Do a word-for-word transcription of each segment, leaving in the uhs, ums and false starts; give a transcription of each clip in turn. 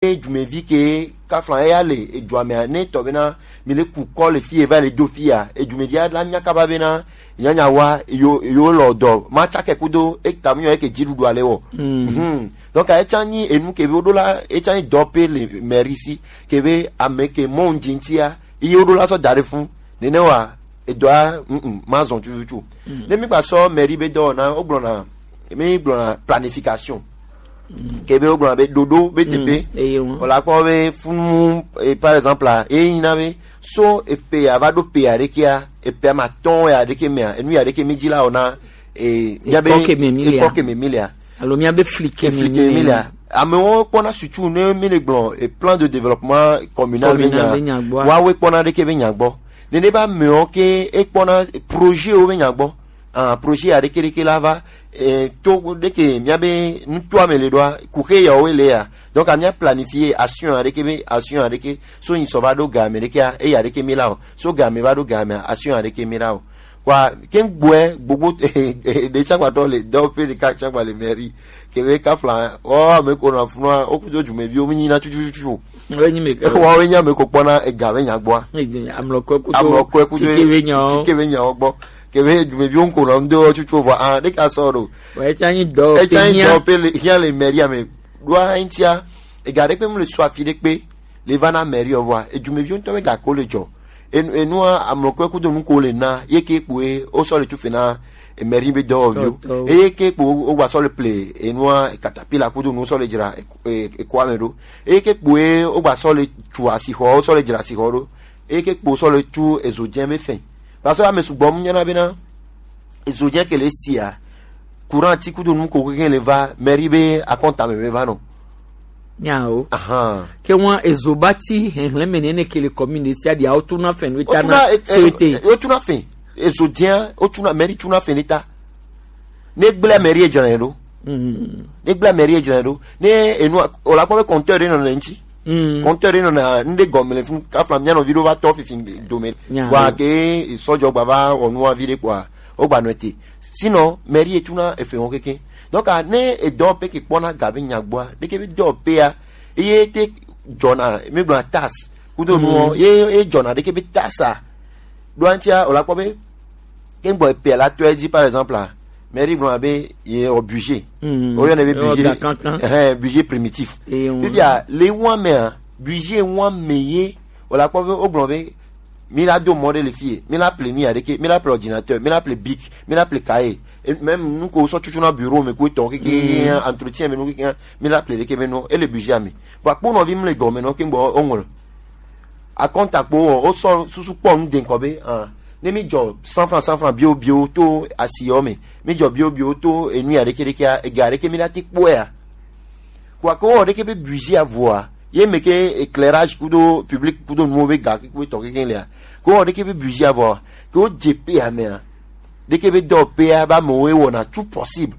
Ejumevi ke kafla eya le ejuame ne tɔ bena mi le ku kɔ le fi eva le do fia, ejumevi ala nya kaba bena nyanya wa yo yo lɔ dɔ ma tsake kudo eta mu nyɔ eke ji ɖuɖu ale wɔ. Mhm. Donc etsa nyi enu ke be woɖo la, etsa nyi dɔ pe le mairie si ke be ame ke mɔ ŋdzi ŋtia, iye woɖo la sɔ da ɖe fun. Nene wa edɔa, mm, ma zɔn tututu. Ne mi gba sɔ mairie be dɔ na, wogblɔna, mi gblɔna planification. Ke be wogblɔna be ɖoɖo be teƒe. Eye ŋu. Wòle akpɔ be funu, eh, par exemple, ah, eyi na be so eƒe ya va ɖo ƒe ya ɖekea, eƒe ama tɔn ya ɖeke mea, enu ya ɖeke mi dzi la wɔ na, eh, mia be ekɔ ke me mi lea. Alo mia be fli ke me mi lea. Amewo kpɔna sutu ne mi le gblɔ, eh, plan de développement communal be nya. Communal be nya gbɔ. Woawoe kpɔna ɖeke be nya gbɔ. Nene be amewo ke ekpɔna projet wo be nya gbɔ. Ah, projet ya ɖeke ɖeke la va, eh, to ɖeke mia be nutoa me le ɖoa, kuxe ya wo le ya. Donc mia planifier action ya ɖeke be, action ya ɖeke so nyi sɔ va ɖo ga me ɖekea, eya ɖeke mi la o. So ga me va ɖo ga me, action ya ɖeke mi la o. Kwa ke gbɔe gbogbo ɖe tsa gbatɔ le dɔ pe ɖeka tsa gba le mairie. Ke be kafla, oh, ame ko na funua, o kudo jumeviwo mi nyi na tututu. Wo nyi me ke. Wa wo nya me ko kpɔna ega be nya gbɔa. Amlɔkɔe kudo. Amlɔkɔe kudo. Tike be nya o. Tike be nya o gbɔ. Ke be jumeviwo ŋko na ŋdo tutu vɔ, ah, ɖeka sɔ ɖo. Wa etsa nyi dɔ. Etsa nyi dɔ pe le, hia le mairie me. Ɖoa eŋtia, ega ɖe kpe mu le sɔ afi ɖe kpe, le va na mairie o vɔa, ejumeviwo ŋutɔ be gako le dzɔ. Enu, enua amlɔkɔe kudo nuko le na, ye ke kpoe, o sɔ le tufe na, e mairie be dɔwɔviwo. Dɔwɔviwo. Eye ke kpo o gba sɔ le ple, enua katapila kudo nu sɔ le dzra, e, e, ekoa me ɖo. Eye ke kpoe, o gba sɔ le tu asixɔ, o sɔ le dzra asixɔ ɖo. Eye ke kpo sɔ le tu ezo dze be fɛn. Parce que ame sugbɔ mu nyana bena, ezo dze ke le sia, courant ti kudo nu ko ke le va, mairie be akɔnta me be va nɔ. Nyawo. Ahan. Ke wan ezo ba ti hɛnhlɛn me ne ne ke le commune sia dia o tuna fɛn we ta na. Wotuna, eh, eh, souhaité. Wotuna fɛn. Ezo dze, wotuna, mairie tuna fɛn ne ta. Ne gblẽ mairie dzra ɖo. Mm. Ne gblẽ mairie dzra ɖo. Ne enu, o la kpɔ be compteur ɖe nɔ ne ŋti. Mm. Compteur ɖe nɔ na, ŋɖe gɔme le fun, kafla mia nɔvi ɖo va tɔ fifi dome. Nya. Wa ke sɔdzɔ gba va wɔ nua vi ɖe kpoa, o gba nɔ ete. Sinon, mairie tuna efe wɔn keke. Donc, ah, ne edɔ pe ke kpɔna ga be nya gbɔa, ɖeke be dɔ pea, eye te dzɔna, mi gblɔna taxe. Kudo nuwo, ye, ye dzɔna ɖeke be taxe a. Ɖo aŋtia, o la kpɔ be, ke gbɔ epea la tɔe dzi, par exemple, ah, mairie gblɔna be, ye o budget. Mm. O yɔnɛ be budget. Ewɔ ga kankan. Ɛhɛn, budget primitif. Eye ŋu. Fifia, le wan mea, budget wan me ye, o la kpɔ be, o gblɔ be, mi la do mɔ ɖe le fie, mi la ple nu ya ɖeke, mi la ple ordinateur, mi la ple bic, mi la ple cahier. Et même nu ko sɔ tutu na bureau me ko etɔ keke, mm, entretien me nu keke, mi la ple ɖeke be no, ele budget me. Vɔ kpo nɔvi mi le gɔme nɔ ke gbɔ o ŋlɔ. Akɔnta kpo o, o sɔ susu kpɔ nu de ŋkɔ be, ah, ne mi dzɔ cent francs, cent francs bio bio to asi yɔ me, mi dzɔ bio bio to enu ya ɖeke ɖeke a, ega ɖeke mi la ti kpɔ ya. Kua ko wɔ ɖeke be budget avɔa, ye me ke éclairage kudo public kudo nuwo be ga kudo tɔ keke lea. Ko wɔ ɖeke be budget avɔa, ke wo dze pe amea. Ɖeke be dɔ pea ba me wo wɔna tout possible.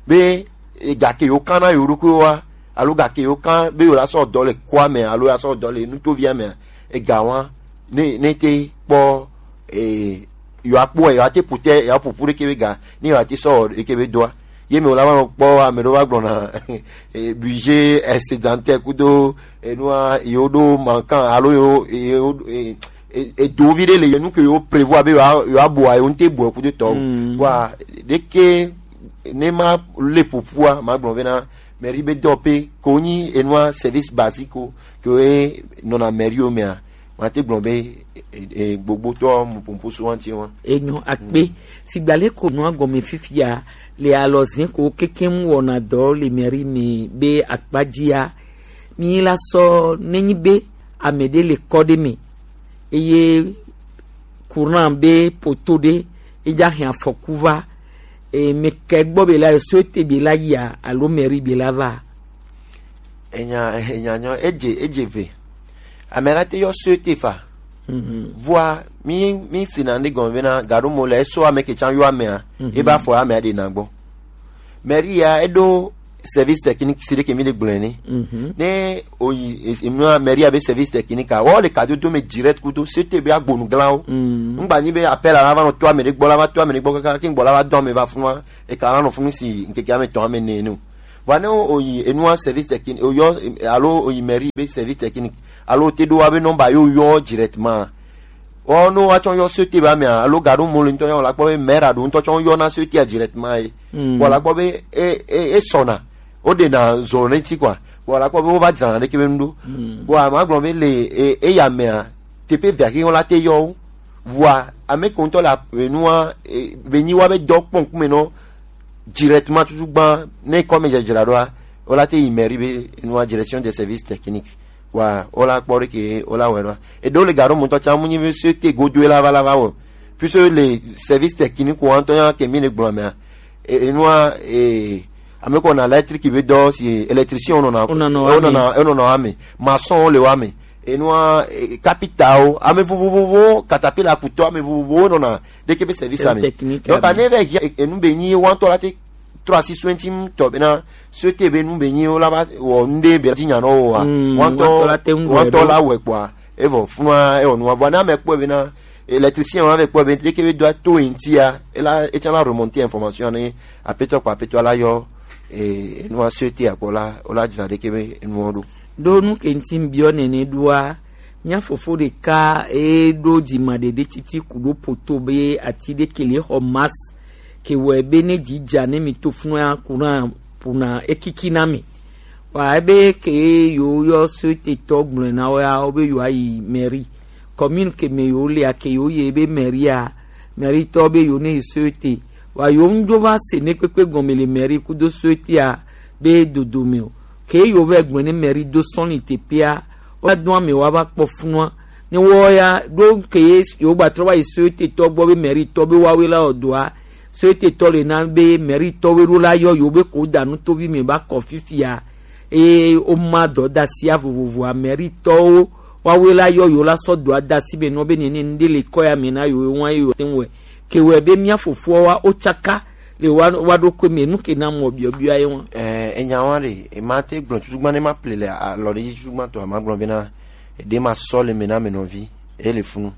Be, e, ga ke yo kan na yo ɖokuiwo wa, alo ga ke yo kan be yo la sɔ dɔ le kua me, alo ya sɔ dɔ le nutovia me, e ga wa, ne, ne te kpɔ, e, yo akpɔ, yo ate pute, yo apupu ɖeke be ga, ne yo ate sɔ ɖeke be doa. Ye me wòle ava nɔ kpɔ ame ɖewo va gblɔna, eh, budget excédentaire kudo enua yewo ɖo mankan alo yewo, yewo, eh, eh, edo vi ɖe le yewo nu ke yewo prévoir be yewoa, yewoa bua, yewo ŋute bua kudo tɔwo. Mm. Vɔa, ɖeke ne ma le ƒoƒua, ma gblɔ be na mairie be dɔ pe ko nyi enua service basique ko ke nɔna mairie wo mea. Mate gblɔ be, e, e, gbogbotɔ mu pomposo wanti wa. Enyo akpe. Mm. Sigba le ko nua gɔme fifia le alɔzin ko kekem wɔna dɔ le mairie me be akpadzia. Mi la sɔ nenyi be ame ɖe le kɔ ɖe me. Eye courant be poto ɖe, edza hɛn afɔku va. E, me kɛ gbɔ be la, so te be la yia, alo mairie be la va. Enya, enya nyɔ, edze, edze ve. Ame la te yɔ so te fa. Mhm. Vɔa, mi, mi si na ne gɔme bena, gaɖo mo le, eso ame ke tsan yɔ amea, mhm, e ba fɔ amea ɖe na gbɔ. Mairie ya, eɖo service technique si ɖe ke mi ɖe gblɔe ne. Mhm. Ne oyi, e, e, mairie ya be service technique a, wɔ le kadodo me direct kudo, so te be agbonu glanwo. Mm. Ŋgba nyi be appel la va nɔ to ame ɖe gbɔ, la va to ame ɖe gbɔ kaka, ke ŋgbɔ la va dɔ ame va funua, e ka la nɔ funu si ŋkeke ame tɔn ame ne no. Vɔ ne o yi enua service technique, o yɔ, alo o yi mairie be service technique, alo o te ɖo wa be nɔmba yo yɔ directement. Ɔ, no wa tsɔ yɔ société ba mea, alo ga ɖo mo le ŋutɔ yɔ la kpɔ be maire a ɖo ŋutɔ tsɔ yɔ na société a directement ye. Vɔ la kpɔ be e, e, e sɔna. O ɖe na zɔ ne ti quoi. Vɔ la kpɔ be o va dzra na ɖe ke be nu ɖo. Vɔ a ma gblɔ be le e, e ya mea, teƒe vea ke la te yɔ wo. Vɔa ame ko ŋutɔ le enua, e, be nyi wa be dɔ kpɔ ŋkume nɔ directement tutu gbã, ne kɔ me dzedzra ɖoa, o la te yi mairie be enua direction des services techniques. Wa o la kpɔ ɖe ke o la wɛ ɖoa. E ɖo le ga ɖo mutɔ tsa mu nyi be se te godo e la va la va wɔ. Puisque le service technique wa ŋutɔ ya ke mi le gblɔ mea, e, enua, e, ame ko na électrique be dɔ si électricien o nɔna, o nɔna wa me, maçon o le wa me. Enua, e, capita o, ame vovovowo, caterpillar kutɔ, ame vovovowo nɔna ɖeke be service ame. Donc ane ve hia enu be nyi wantɔ la te trɔ asi so ŋti tɔ bena so te be nu be nyi wo la va wɔ nu ɖe be dzi nya nɔ wo wa. Wantɔ la te ŋu wantɔ la wɛ kpɔa, evɔ funua ewɔ nua vɔ ne ame kpɔe bena électricien wa ve kpɔe be ɖeke be do ato ŋtia ela etsã la remonter information ne apetɔ kpɔ apetɔ la yɔ, e, enua so te akpɔ la o la dzra ɖeke be enuɔ ɖo. Ɖo nu ke ŋti biɔ nene ɖoa, mía fofo ɖeka e ɖo dzima ɖeɖe titi ku ɖo poto be ati ɖe ke le xɔ mas ke wɔ be ne dzi dza ne mi to funu ya ku na puna ekiki na mi. Wa ebe ke yo yɔ société tɔ gblɔ na wo ya wo be yo ayi mairie. Commune ke me yo le ake yo ye be mairie a, mairie tɔ be yo ne société. Wa yo ŋdzo va se ne kpekpe gɔme le mairie kudo société a be dodo me o. Ke yo vɛ gblɔ ne mairie do sɔn ni teƒea, woado ame woava kpɔ funua. Ne woya ɖo ke ye yewo gbatrɔ va yi société tɔ gbɔ be mairie tɔ be woawoe la wɔ dɔa, société tɔ le na be mairie tɔwoe ɖo la yɔ yewo be ko da nu tovi me ba kɔ fifia. Eye woma dɔdasia vovovoa mairie tɔwo woawoe la yɔ yewo la sɔ dɔa da si be nɔ be nene nu ɖe le kɔ ya me na yewo ŋua ye yewo te ŋu wɛ. Ke wɔe be mía fofoawoa wotsaka le wa wa ɖo koe me nu ke na mɔ biɔbiɔ ye ŋua. Eh, enya wa ɖe ema te gblɔ tutu gbã ne ma ple le alɔ ɖe dzi tutu gbã tɔ ma gblɔ bena ɖe ma sɔ le me na me nɔvi e le funu.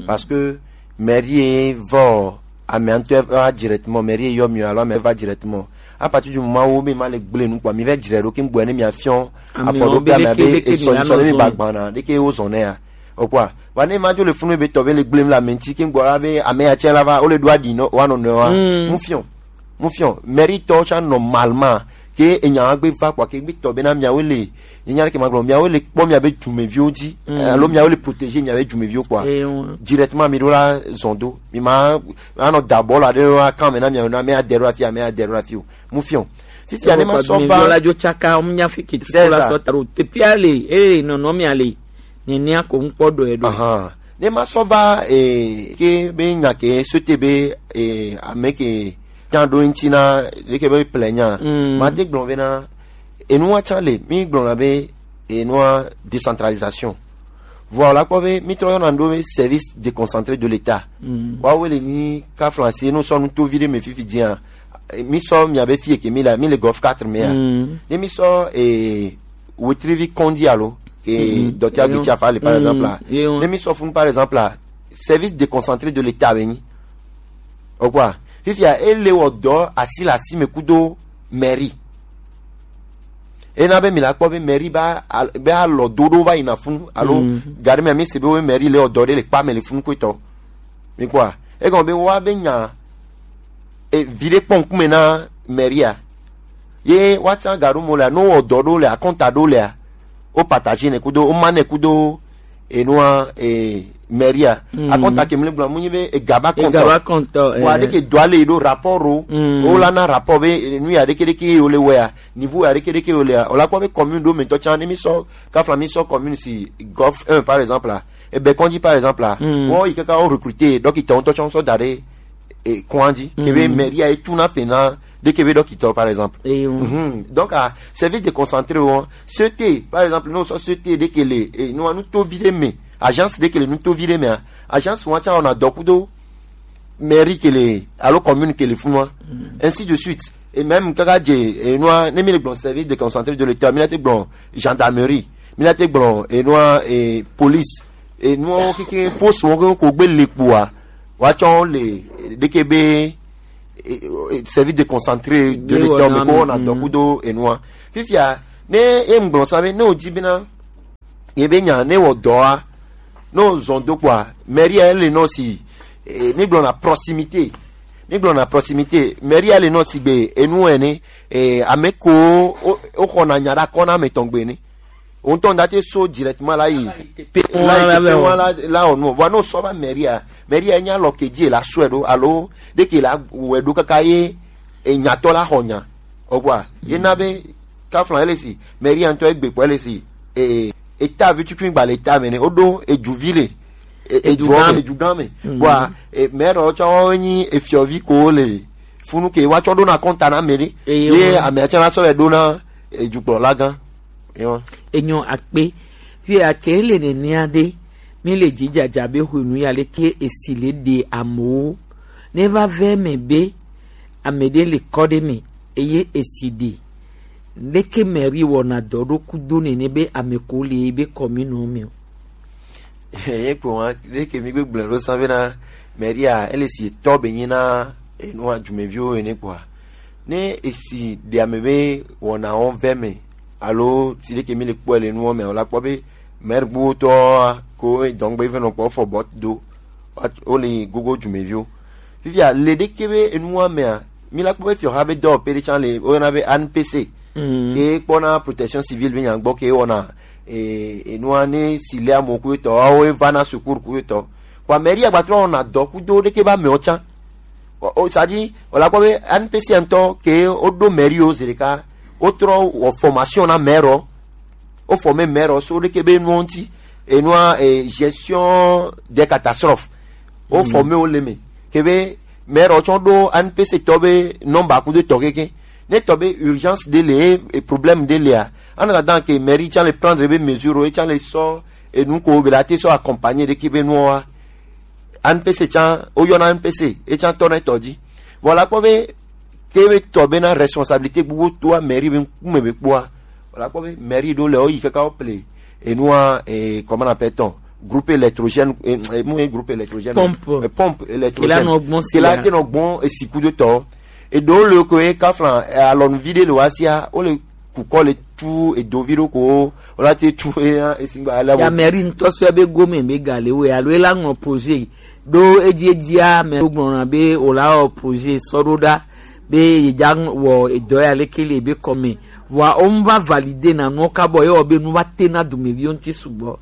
Parce que mairie vɔ ame ŋutɔ va directement, mairie yɔ mi alo ame va directement. À partir du moment wo be ma le gble nu kpɔ mi vɛ dzre ɖo ke ŋgbɔ ne mi afiɔ afɔ ɖo ke ame be esɔ nsɔ ne mi ba gbana ɖe ke wo zɔn ne ya. O kpɔa, va ne ma dzo le funu be tɔ be le gblem le ame ŋti ke ŋgbɔ la be ame ya tsɛ la va wo le ɖo aɖi nɔ wa nɔnɔe wa. Mu fiɔ, mu fiɔ mairie tɔ tsã normalement ke enya wa gbe va kpɔa ke gbe tɔ be na miawo le enya ɖe ke ma gblɔ miawo le kpɔ mia be dumeviwo dzi, alo miawo le protéger mia be dumeviwo kpɔa directement mi ɖo la zɔn do mi ma anɔ da bɔl aɖe wa kan me na miawo na me adɛ ɖo afi ame adɛ ɖo afi o. Mu fiɔ fifia ne ma sɔ va la dzo tsaka ŋu nya fi kiti la sɔ ta ɖo tepia le eye nɔnɔ mia le. Nenia ko ŋkpɔ ɖɔe ɖo. Ahan. Ne ma sɔ va, eh, ke be nya ke sote be, eh, ame ke nya ɖo ŋti na ɖe ke be ple nya. Ma te gblɔ be na enua tsã le mi gblɔ na be enua décentralisation. Vɔ la kpɔ be mi trɔ yɔna ɖo be service déconcentré de l'État. Wa wo le ni ka français no sɔ nu to vi ɖe me fifi dia. Mi sɔ mia be fie ke mi la mi le golf quatre me ya. Ne mi sɔ, eh, Wetrivi Kondi alo ke docteur Agbiti Afa le par exemple la. Ne mi sɔ funu par exemple la service déconcentré de l'État be nyi. O kpɔa, fifia e le wɔ dɔ asi le asi me kudo mairie. Ena be mi la kpɔ be mairie ba be alɔ do ɖo va yina funu alo gari me mi se be wo mairie le wɔ dɔ ɖe le kpa me le funu ko etɔ. Mi kpɔa, egɔn be wa be nya e vi ɖe kpɔ ŋkume na mairie a. Ye wa tsã ga ɖo mo le a, no wɔ dɔ ɖo le a, kɔnta ɖo le a, o partager ne kudo, o ma ne kudo enua e mairie a. Akɔnta ke mi le gblɔ mu nyi be ega ba kɔntɔ. Ega ba kɔntɔ. Wa ɖe ke do ale ɖo rapport o. O la na rapport be nu ya ɖe ke ɖe ke o le wɛ a, niveau ya ɖe ke ɖe ke o le a. O la kpɔ be commune ɖo me tɔ tsã ne mi sɔ kafla mi sɔ commune si golf un par exemple a. Ebe kɔndzi par exemple a. Wo yi kaka wo recruter dɔkita ŋutɔ tsɔ sɔ da ɖe e kɔndzi ke be mairie a etu na fe na ɖe ke be dɔkita par exemple. Donc a service déconcentré wo sete par exemple no sɔ sete ɖe ke le e no nu to vi ɖe me agence ɖe ke le nu to vi ɖe me a agence wa tsã wɔna dɔ kudo mairie ke le alo commune ke le funua. Ainsi de suite. Et même kaka dze enua ne mi le gblɔ service déconcentré de l'État mi na te gblɔ gendarmerie, mi na te gblɔ enua e police, enua wo keke poste wo ko gbe le kpua wa tsɔ le ɖeke be e, e, service déconcentré de l'état me ko na dɔ kudo enua. Fifia ne e ŋgblɔ sa be ne o di bena ye be nya ne wɔ dɔ a ne o zɔn do kpɔa mairie a ele nɔ si e, mi gblɔ na proximité mi gblɔ na proximité mairie a ele nɔ si gbe enu ene e, ame ko o o xɔ na nya ɖa kɔ na ame tɔn gbe ne o ŋutɔ ŋda te so directement la yi pe la yi pe ŋua la la ɔ nu vɔ ne o sɔ va mairie a mairie a nya lɔ ke dzi la sɔe ɖo alo ɖe ke la wɛ ɖo kaka ye enyatɔ la xɔ nya ɔgbɔa ye na be kaflan ele si mairie ŋutɔ egbe kpɔ ele si e eta vi tuntun gba le eta me ne o ɖo edu vi le e- edu gã me edu gã me bɔa e maire ɔ tsɔ wo nyi efiɔvi ko le funu ke wa tsɔ ɖo na kɔnta na me ɖe ye ame atsɛ na sɔ yɛ ɖo na edukplɔla gã. Enyɔ akpe fi ake le nenea ɖe mi le dzidzadza be hwenu ya leke esi le ɖe amewo ne va vɛ me be ame ɖe le kɔ ɖe me eye esi ɖe leke mairie wɔna dɔ ɖo kudo nene be ame ko le be kɔminu me o. Ye kpo wa ɖe ke mi gbegblẽ ɖo sa bena mairie a ele si etɔ be nyi na enua dumeviwo ene kpoa ne esi ɖe ame be wɔna wɔn vɛ me alo si ɖe ke mi le kpɔe le nuwo me o la kpɔ be maire gbogbo tɔ ko dɔngbe fɛn nɔ kpɔ fɔ bɔ do o le gogo dumeviwo fifia le ɖe ke be enua mea mi la kpɔ be fiɔha be dɔwɔƒe ɖe tsã le woyɔna be N P C ke kpɔna protection civile be nyagbɔ ke wɔna e, enua ne si le amoku etɔ awo eva na sukuru ku etɔ kpa mairie agbatrɔ wɔna dɔ kudo ɖeke ba mɛɔ tsã o sadi o la kpɔ be N P C ŋutɔ ke o ɖo mairie o zi ɖeka o trɔ wɔ formation na maire o forme maire so ɖeke be nuwo ŋuti enua e, gestion des catastrophes o forme o le me ke be maire tsɔ ɖo N P C tɔ be nɔmba kudo tɔ keke ne tɔ be urgence ɖe le e problème ɖe lea ana dada ke mairie tsã le prendre be mesure o e tsã le sɔ enu ko be la te sɔ accompagner ɖeke be nuwo wa N P C tsã o yɔna N P C e tsã tɔ na etɔ dzi vɔ la kpɔ be ke be tɔ bena responsabilité gbogbo toa mairie be ŋkume be kpɔa wala kpɔ be mairie ɖo le woyi kaka wo ple enua e, comment on appelle tɔn groupe électrogène e, e, mu ye groupe électrogène pompe e, pompe électrogène kila nɔ gbɔn si kila te nɔ gbɔn esi kudo tɔ eɖo le ko ye kaflan e, alɔnu vi ɖe le wa sia wo le kukɔ le tu edo vi ɖo ko wala te tu e, esigba ale ya mairie ŋutɔ sɔ be gome be ga le wo alo ela ŋlɔ projet ɖo edzi edzia mɛ wogblɔna be wòla wɔ projet sɔ ɖo ɖa be yedza wɔ edɔ ya leke le ebe kɔme vɔa wo ŋu va valide na nuwo kabɔ ye wɔ be nu va te na dumeviwo ŋuti sugbɔ.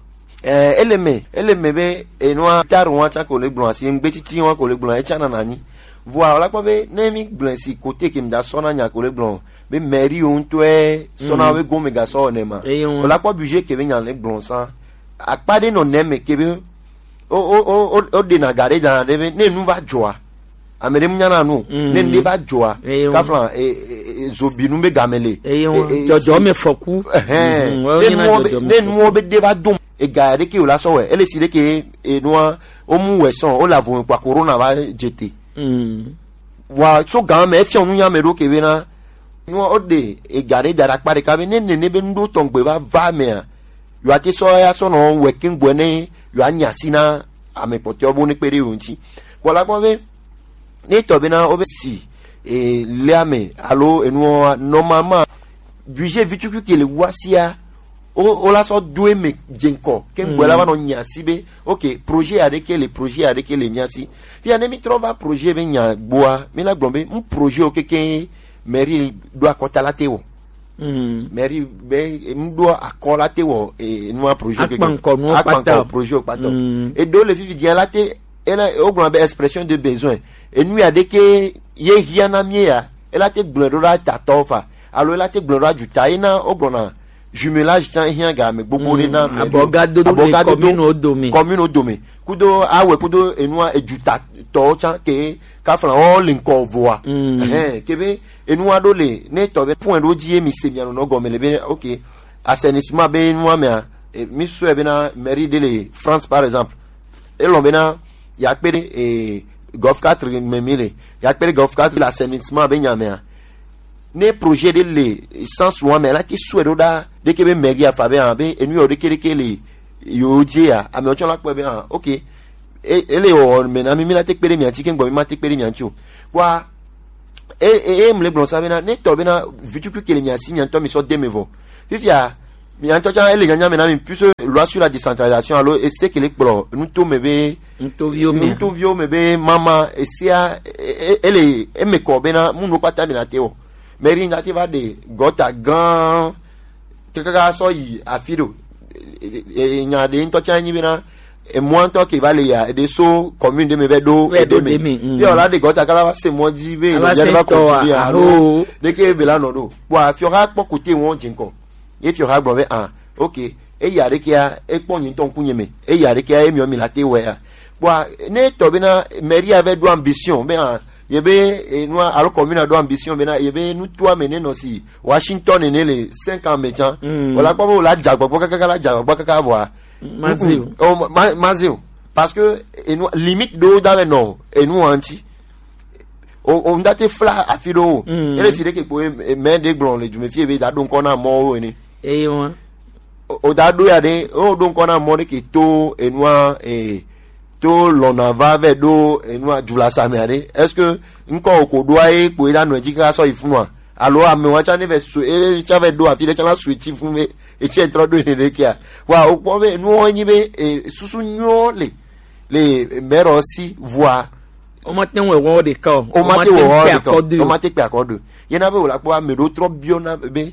Ɛɛ ele me ele me be enua taru wa tsa ko le gblɔ asi ŋgbe titi wa ko le gblɔ etsa nana anyi vɔa wòla kpɔ be ne mi gblɔ si kote ke mi da sɔ na nya ko le gblɔ be mairie wo ŋutɔe sɔ na wo be gome ga sɔ ne ma wòla kpɔ budget ke be nya le gblɔ sa akpa ɖe nɔ ne me ke be o o o o o ɖena ga ɖe dzana ɖe be ne nu va dzɔa ame ɖe mu nyana nu ne nu ɖe va dzɔa kafla e e e zobinu be game le eye ŋu dzɔdzɔ me fɔku ɛhɛn Mhm, ne wɔyɔ nyina nuwo be dzɔdzɔ me ne fɔku. Nuwo be ɖe va dom ega ɖe ke o la sɔ wɛ ele si ɖe ke enua o mu wɛ sɔn o la vo kpa corona va dze te wa so gan me efiɔ nu nya me ɖo ke be na nua o ɖe ega ɖe da ɖe akpa ɖeka be ne nene be nu ɖo tɔn gbe va va mea yɔ ate sɔ ya sɔ nɔ wɛ ke gbɔ ne yɔ anya si na ame kpɔtɔewo bo ne kpe ɖe yewo ŋuti. Vɔ la gbɔ be ne tɔ be na wo be si e, lea me alo enuwo normalement budget vi tukui ke le wa sia o o la sɔ do eme dze ŋkɔ ke gbɔ la va nɔ nya si be ok projet aɖe ke le projet aɖe ke le mia si fia ne mi trɔ va projet be nya gbɔa mi la gblɔ be n projet wo keke mairie ɖo akɔta la te wɔ mairie be ŋɖo akɔ la te wɔ eh, nua projet keke akpankɔ nuwo akpankɔ kpata projet kpata eɖo le fifi dia la te ela wogblɔna be expression de besoin enu ya ɖeke ye hia na mie ya ela te gblɔe ɖo ɖa tatɔ fa alo ela te gblɔe ɖo ɖa juta ye na wogblɔna jumelage tsã hia ga ame gbogbo ɖe na abɔgadodo le commune wo dome commune wo dome kudo awɛ kudo enua ejuta tɔwo tsã ke kafla wo le ŋkɔ voa ɛhɛn ke be enua ɖo le ne tɔ be point ɖo dzi ye mi se mia nɔ gɔme le be ok assainissement be enua mea eh, mi sɔe be na mairie de le France par exemple elɔn be na ya kpe ɖe eh, golf quatre me mi le ya kpe ɖe golf quatre le assainissement be nya mea ne projet ɖe le sans wa me la ti sɔe ɖo ɖa ɖeke be mairie afa be hã be enu yɔ ɖeke ɖeke le yo dzi ya ame tsɔ la kpɔe be hã ok e- ele wɔ me na mi mi na te kpe ɖe mia ŋuti ke gbɔ mi ma te kpe ɖe mia ŋuti o wa E e e mle gblɔ sa bena ne tɔ bena vitukui kele mi asi nya ŋutɔ mi sɔ de me vɔ. Fifia mi nya ŋutɔ tsa ele nyanya me na mi puisque loi sur la décentralisation alo ese kele kplɔ nuto me be Ŋutɔviwo me. Ŋutɔviwo me be mama esia e- e- ele eme kɔ bena munu kpata mi na te wɔ. Mairie na te va de gɔta gã kaka sɔ yi afi ɖo. E- e- e- nya ɖe ŋutɔ tsa nyi bena emɔ ŋutɔ ke va le ya eɖe so commune ɖe me vɛ ɖo Vɛ ɖo eɖe me. Eɖe me, mm. Fi ɔla de gɔta kala va se mɔ dzi ve Ava nɔvia se ɖe va tɔ kɔ ti ya a- alo alo. ɖeke be la nɔ ɖo kpɔ afi ɔha kpɔ kote wɔn dzi ŋkɔ. Ye fi ɔha gblɔ be ah, ok, eya ɖekea ekpɔ nyi ŋutɔ ŋkunye me, eya ɖekea emi mi la te wɛ ya. Kpɔ ne tɔ bena mairie vɛ ɖo ambition be ah, ye be enua alo commune ɖo ambition bena ye be nutoa me ne nɔ si Washington ne le cinq ans me tsa. Mm. Wala kpɔ be wala dza gbɔgbɔ kaka la dza gbɔgbɔ kaka vɔa. Mazi o. Oh, ma- ma- mazi o. Parce que enu limite ɖo da vɛ nɔ enu anti. O o ŋda te fla afi ɖo o. Mm. Ele si ɖe ke kpo e- e- mɛ ɖe gblɔ le dume fi ebe da ɖo ŋkɔ na mɔwo ene. Eye wa. O o da ɖo ya ɖe o ɖo ŋkɔ na mɔ ɖe ke to enua e to lɔna va vɛ ɖo enua dulasa me aɖe. Est-ce que ŋkɔ o ko ɖoa ye kpo e da nɔ edzi kaka sɔ yi funua? Alo amewa tsa ne vɛ su e tsa vɛ ɖo afi ɖe tsa la su eti fun be etsi etrɔ ɖo ene ɖe kia. Wa o kpɔ be enuwo nyi be e susu nyuiwo le le mɛrɔ si vua. O ma te wɔ wɔ ɖeka o. O ma te wɔ wɔ ɖeka o. O ma te kpe akɔ ɖo. Yena be wòle akpɔ ame ɖewo trɔ biɔ na be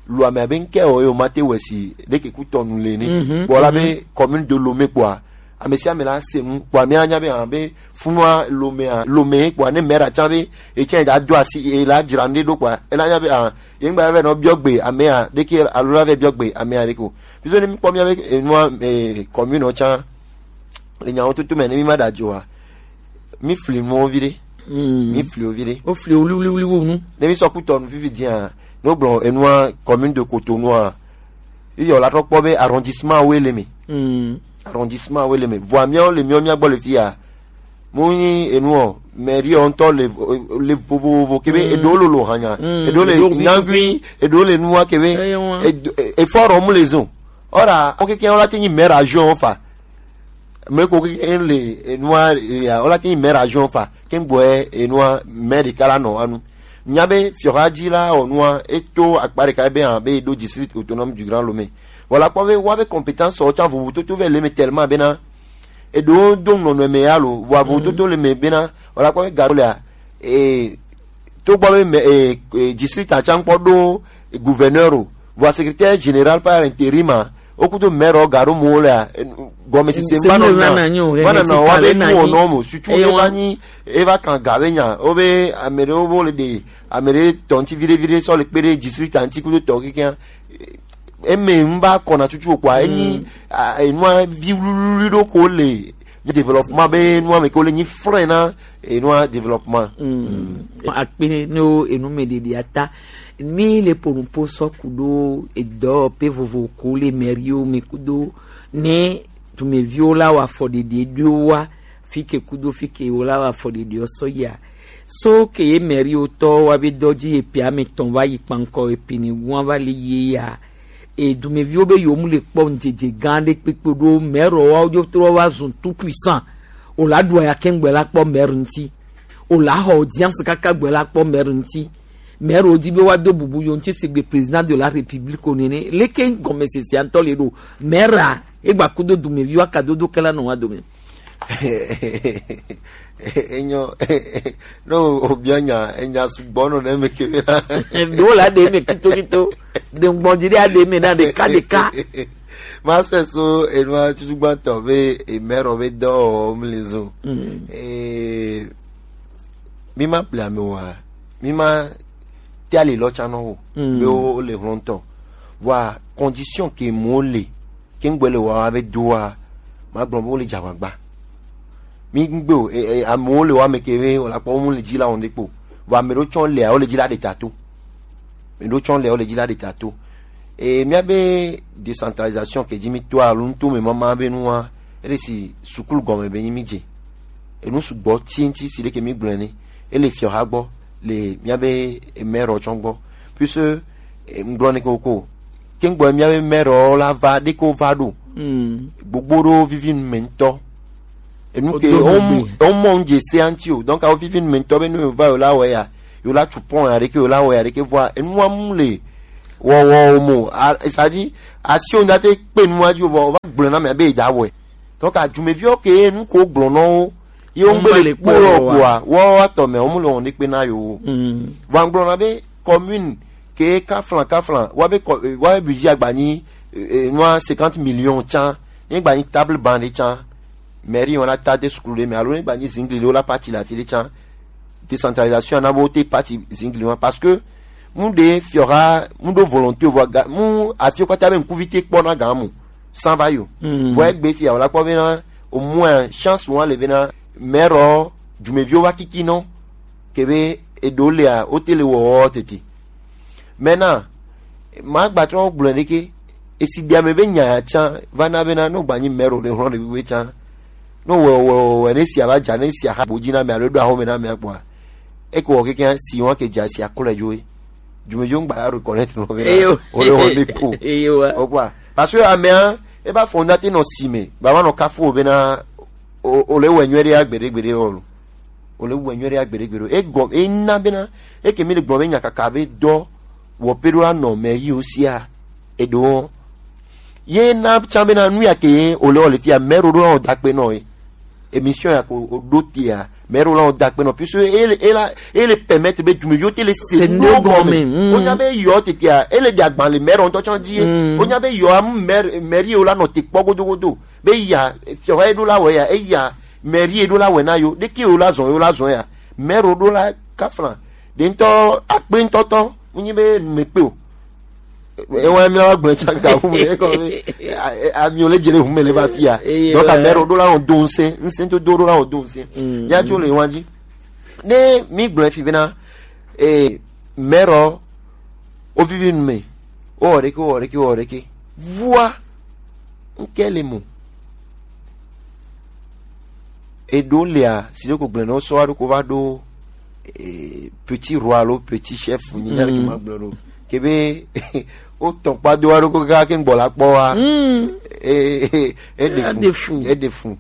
lo ame abe ŋkɛ o ye o ma te wɔ si ɖeke ku tɔnu le ne. Bɔ la be commune de Lomé kpɔa ame sia ame la se nu kpɔa mi anya be hã be funua Lomé a Lomé kpɔa ne mɛra tsa be etsɛ da do asi e la dzra nu ɖe ɖo kpɔa e la nya be hã ye ŋgba vɛ nɔ biɔ gbe amea ɖeke alo la vɛ biɔ gbe amea ɖeke o. Biso ne mi kpɔ mi abe enua eh, commune o tsa le nyawo tutu me ne mi ma da dzoa mi fli nuwo vi ɖe. Mi fli wo vi ɖe. O fli o wliwliwli wo nu. Ne mi sɔ kutɔ nu fifi dia ne o gblɔ enua commune de Cotonou a iyɔ la trɔ kpɔ be arrondissement wo le me. Arrondissement wo le me vɔa miawo le miawo mia gbɔ le fi ya mo nyi enu o mairie o ŋutɔ le vo- le vovovo kebe eɖewo lolo hanya eɖewo le nyagui eɖewo le nua kebe efɔ rɔ mu le zon ɔra o keke o la te nyi maire adjoint o fa me ko ke en le enua ya o la ke maire adjoint fa ke ngbo e enua maire de kala no anu nya be fiora dzi la o nua e to akpa de ka be an be do district autonome du Grand Lomé voilà kpɔ be wa be compétence o tsa vovo toto ve le me tellement be na e do do no no me ya lo wa vovo toto le me be na voilà kpɔ be garo le a e to gbɔ be me e e district a tsa nkpɔ do gouverneur o vɔa secrétaire général par intérim a o kudo maire o garo mo le a gɔme sise Se va mo no va na na nyo, va na he, na ti wa kale be na nu o nyi. no mo sutu Eye e wa- va nyi e va kan ga be nya o be ame ɖewo bo le de ame ɖe tɔ ŋti viɖe viɖe sɔ le kpe ɖe district a ŋti kudo tɔ keke eme n va kɔna tutu o kpɔa enyi a- enua vi wluwlui ɖo ko le développement be nua me ko le nyi frein na enua développement. Akpe ne wo enu me ɖeɖi ata mi le ponupo sɔ ku ɖo edɔ pe vovo ko le mairie wo me kudo ne dumeviwo la wa afɔ ɖeɖi ɖo wa fike kudo fike wo la wa afɔ ɖeɖi o sɔ ya so ke ye mairie wo tɔ wa be dɔ dzi ye pe ame tɔn va yi kpankɔ ye pe ni gua va le ye ya e dumeviwo be yewo mu le kpɔ ŋdzedze gã ɖe kpekpe ɖo mɛrɔ wa wo dzo trɔ va zun tout puissant o la ɖu aya kɛŋgbɛ la kpɔ mɛrɔ ŋti o la xɔ audience kaka gbɛ la kpɔ mɛrɔ ŋti mɛrɔ di be wa do bubu yo ŋti sigbe président de la république o nene leke gɔmesese ŋtɔ le ɖo mɛra egba kudo dumeviwo aka dodo kɛla nɔ wa dome. Enyo no obiɔ nya enya sugbɔ no ne me ke na. Ɖewo la ɖe me kitokito ɖe ŋgbɔdzi ɖe aɖe me na ɖeka ɖeka. Ma se so enua tutugbãtɔ be emɛrɔ be dɔ mli zo. Eh, mi ma ple ame wa mi ma te ali lɔ tsa nɔ o be wo le hlɔntɔ vɔa condition ke mo le ke ŋgbe le wa be doa ma gblɔ be wo le dza agbagba mi ŋgbe o e- e- amewo le wa me ke be wala kpɔ wo mu le dzi la wɔn de kpo vɔ ame ɖo tsɔ lea wo le dzi la de ta to ame ɖo tsɔ lea wo le dzi la de ta to e mia be décentralisation ke dzi mi to alo ŋto me mama be nua ele si sukulu gɔme be nyi mi dze enu sugbɔ ti ŋti si ɖeke mi gblɔe ne ele fiɔha gbɔ le mia be maire tsɔ gbɔ puisque eh, ŋgblɔ ne koko ke ŋgbɔ mia be maire la va ɖe ko va ɖo gbogbo ɖo vivi nu me ŋtɔ enu ke Odo on gbogbo. on mɔ ŋdze se anti o donc awo vivi nu me ŋtɔ be nu va o la wɔ ya Yo la tu pɔn ya ɖeke, yo la wɔ ya ɖeke, vɔa enua mu le wɔwɔ o mo. A, c'est-à-dire, asi o ŋda te kpe nua dzi o, vɔ o va gblɔ na mɛ be da wɔ. Donc adumeviwo ke nu ko gblɔ nɔ wo, ye wo ŋgbe le kpɔ yɔ kpoa, wɔ atɔ mɛ wo mu le wɔn ɖekpe na yo. Vɔ gblɔ na be commune ke kaflan kaflan, wa be kɔ, wa be budget agba nyi, eh, nua cinquante millions tsan, ne gba nyi table banc ɖe tsan, mairie wɔn la ta de sukulu ɖe mɛ, alo ne gba nyi zingli ɖe wo la parti la fi ɖe tsan, décentralisation ana bo te parti zingli wɔn, parce que mu ɖe fiɔha mu ɖo volonté vɔ ga mu afi kpata be ŋkuvi te kpɔ na gan mu sans va yo. Vɔ egbe fia wòla kpɔ bena au moins chance wa le bena mɛrɔ dumeviwo va kiki nɔ kebe eɖo lea wote le wɔwɔ tete. Maintenant, ma gba trɔ gblɔ ɖeke, esi bia me be nya ya tsã va na bena no gba nyi mɛrɔ le hlɔ ɖe be tsã, no wɔ wɔ wɔ ne sia va dza ne sia ha bo dzi na me alo ɖo ahome na me kpɔa, eko wɔ keke si wa ke dza sia klo dzo e. Dumeviwo ŋgba ya reconnaître no bena o le wɔ ne ko. O kpɔa, parce que amea e ba fɔ na te nɔ si me ba ma nɔ kafo bena o le wɔ nyuie ɖe agbeɖe gbeɖe o lo. O le wɔ nyuie ɖe agbeɖe gbeɖe o. E gɔ e na bena e ke mi le gblɔ be nya kaka be dɔ wɔ pe ɖo anɔ mɛ yi o sia e ɖo. Ye na tsã bena nu ya ke o le wɔ le fia mɛ ɖo ɖo na o da kpe nɔ e. Émission ya ko o ɖo tia mɛ ɖo la o da kpe nɔ puisque ele ele ele permettre be dumeviwo te le se no gɔme. O nya be yɔ tetia ele de agban le mɛ ɖo ŋutɔ tsã dzi ye. O nya be yɔ amu mɛ mɛ yi o la nɔ te kpɔ godo godo be ya fiɔ wa eɖo la wɛ ya eya mɛ yi eɖo la wɛ na yo ɖeke o la zɔn yo la zɔn ya mɛ ɖo ɖo la kaflan ɖe ŋutɔ akpe ŋutɔtɔ wonyi be nume kpe o. Ewa mi wa gblɔ tsaka hu me ekɔ be ami o le dze le hu me le va fia. Donc a mɛ ɖo ɖo la wɔn do ŋsɛ ŋsɛ to do ɖo la wɔn do ŋsɛ ya tso le wa dzi ne mi gblɔ fi bena eh mɛ ɖo o vivi nu me o wɔ ɖeke o wɔ ɖeke o wɔ ɖeke vua ŋkɛ le mo. Eɖo lea si ɖo ko gblẽ nɔ sɔ aɖo ko va ɖo eh, petit roi alo petit chef nyi nya ke ma gblẽ ɖo kebe o tɔn kpa do aɖo ko kaka ke ŋgbɔ la kpɔ wa eh eh eh, e de fu e de fu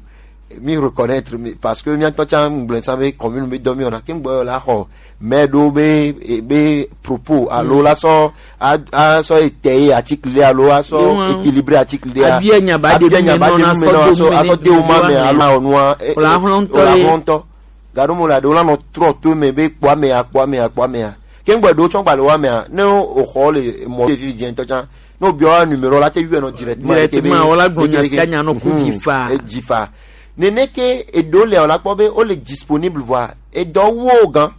mi reconnaître mi parce que mi atɔ tsa ŋgblẽ sa be commune be dɔ mi ona ke ŋgbɔ la xɔ mɛ ɖo be eh, be propos alo la sɔ a a sɔ ete ye article ɖe alo a sɔ équilibré article ɖe a abia nya ba de abia nya ba de nu me nɔ asɔ asɔ de o ma me alo a onua o la hlɔntɔ ye o la hlɔntɔ gaɖo mo la ɖe o la nɔ trɔ to me be kpɔ ame ya kpɔ ame ya kpɔ ame ya ke ŋgbɔ ɖo tsɔ gbalẽ wa me ya ne o xɔ le mɔ ye fi dze ŋtɔ tsã ne o biɔ numéro la te yɔ nɔ directement directement o la gbɔ nya sia nya nɔ ku dzi fa dzi fa nene ke eɖo le o la kpɔ be o le disponible vɔa edɔ wo gan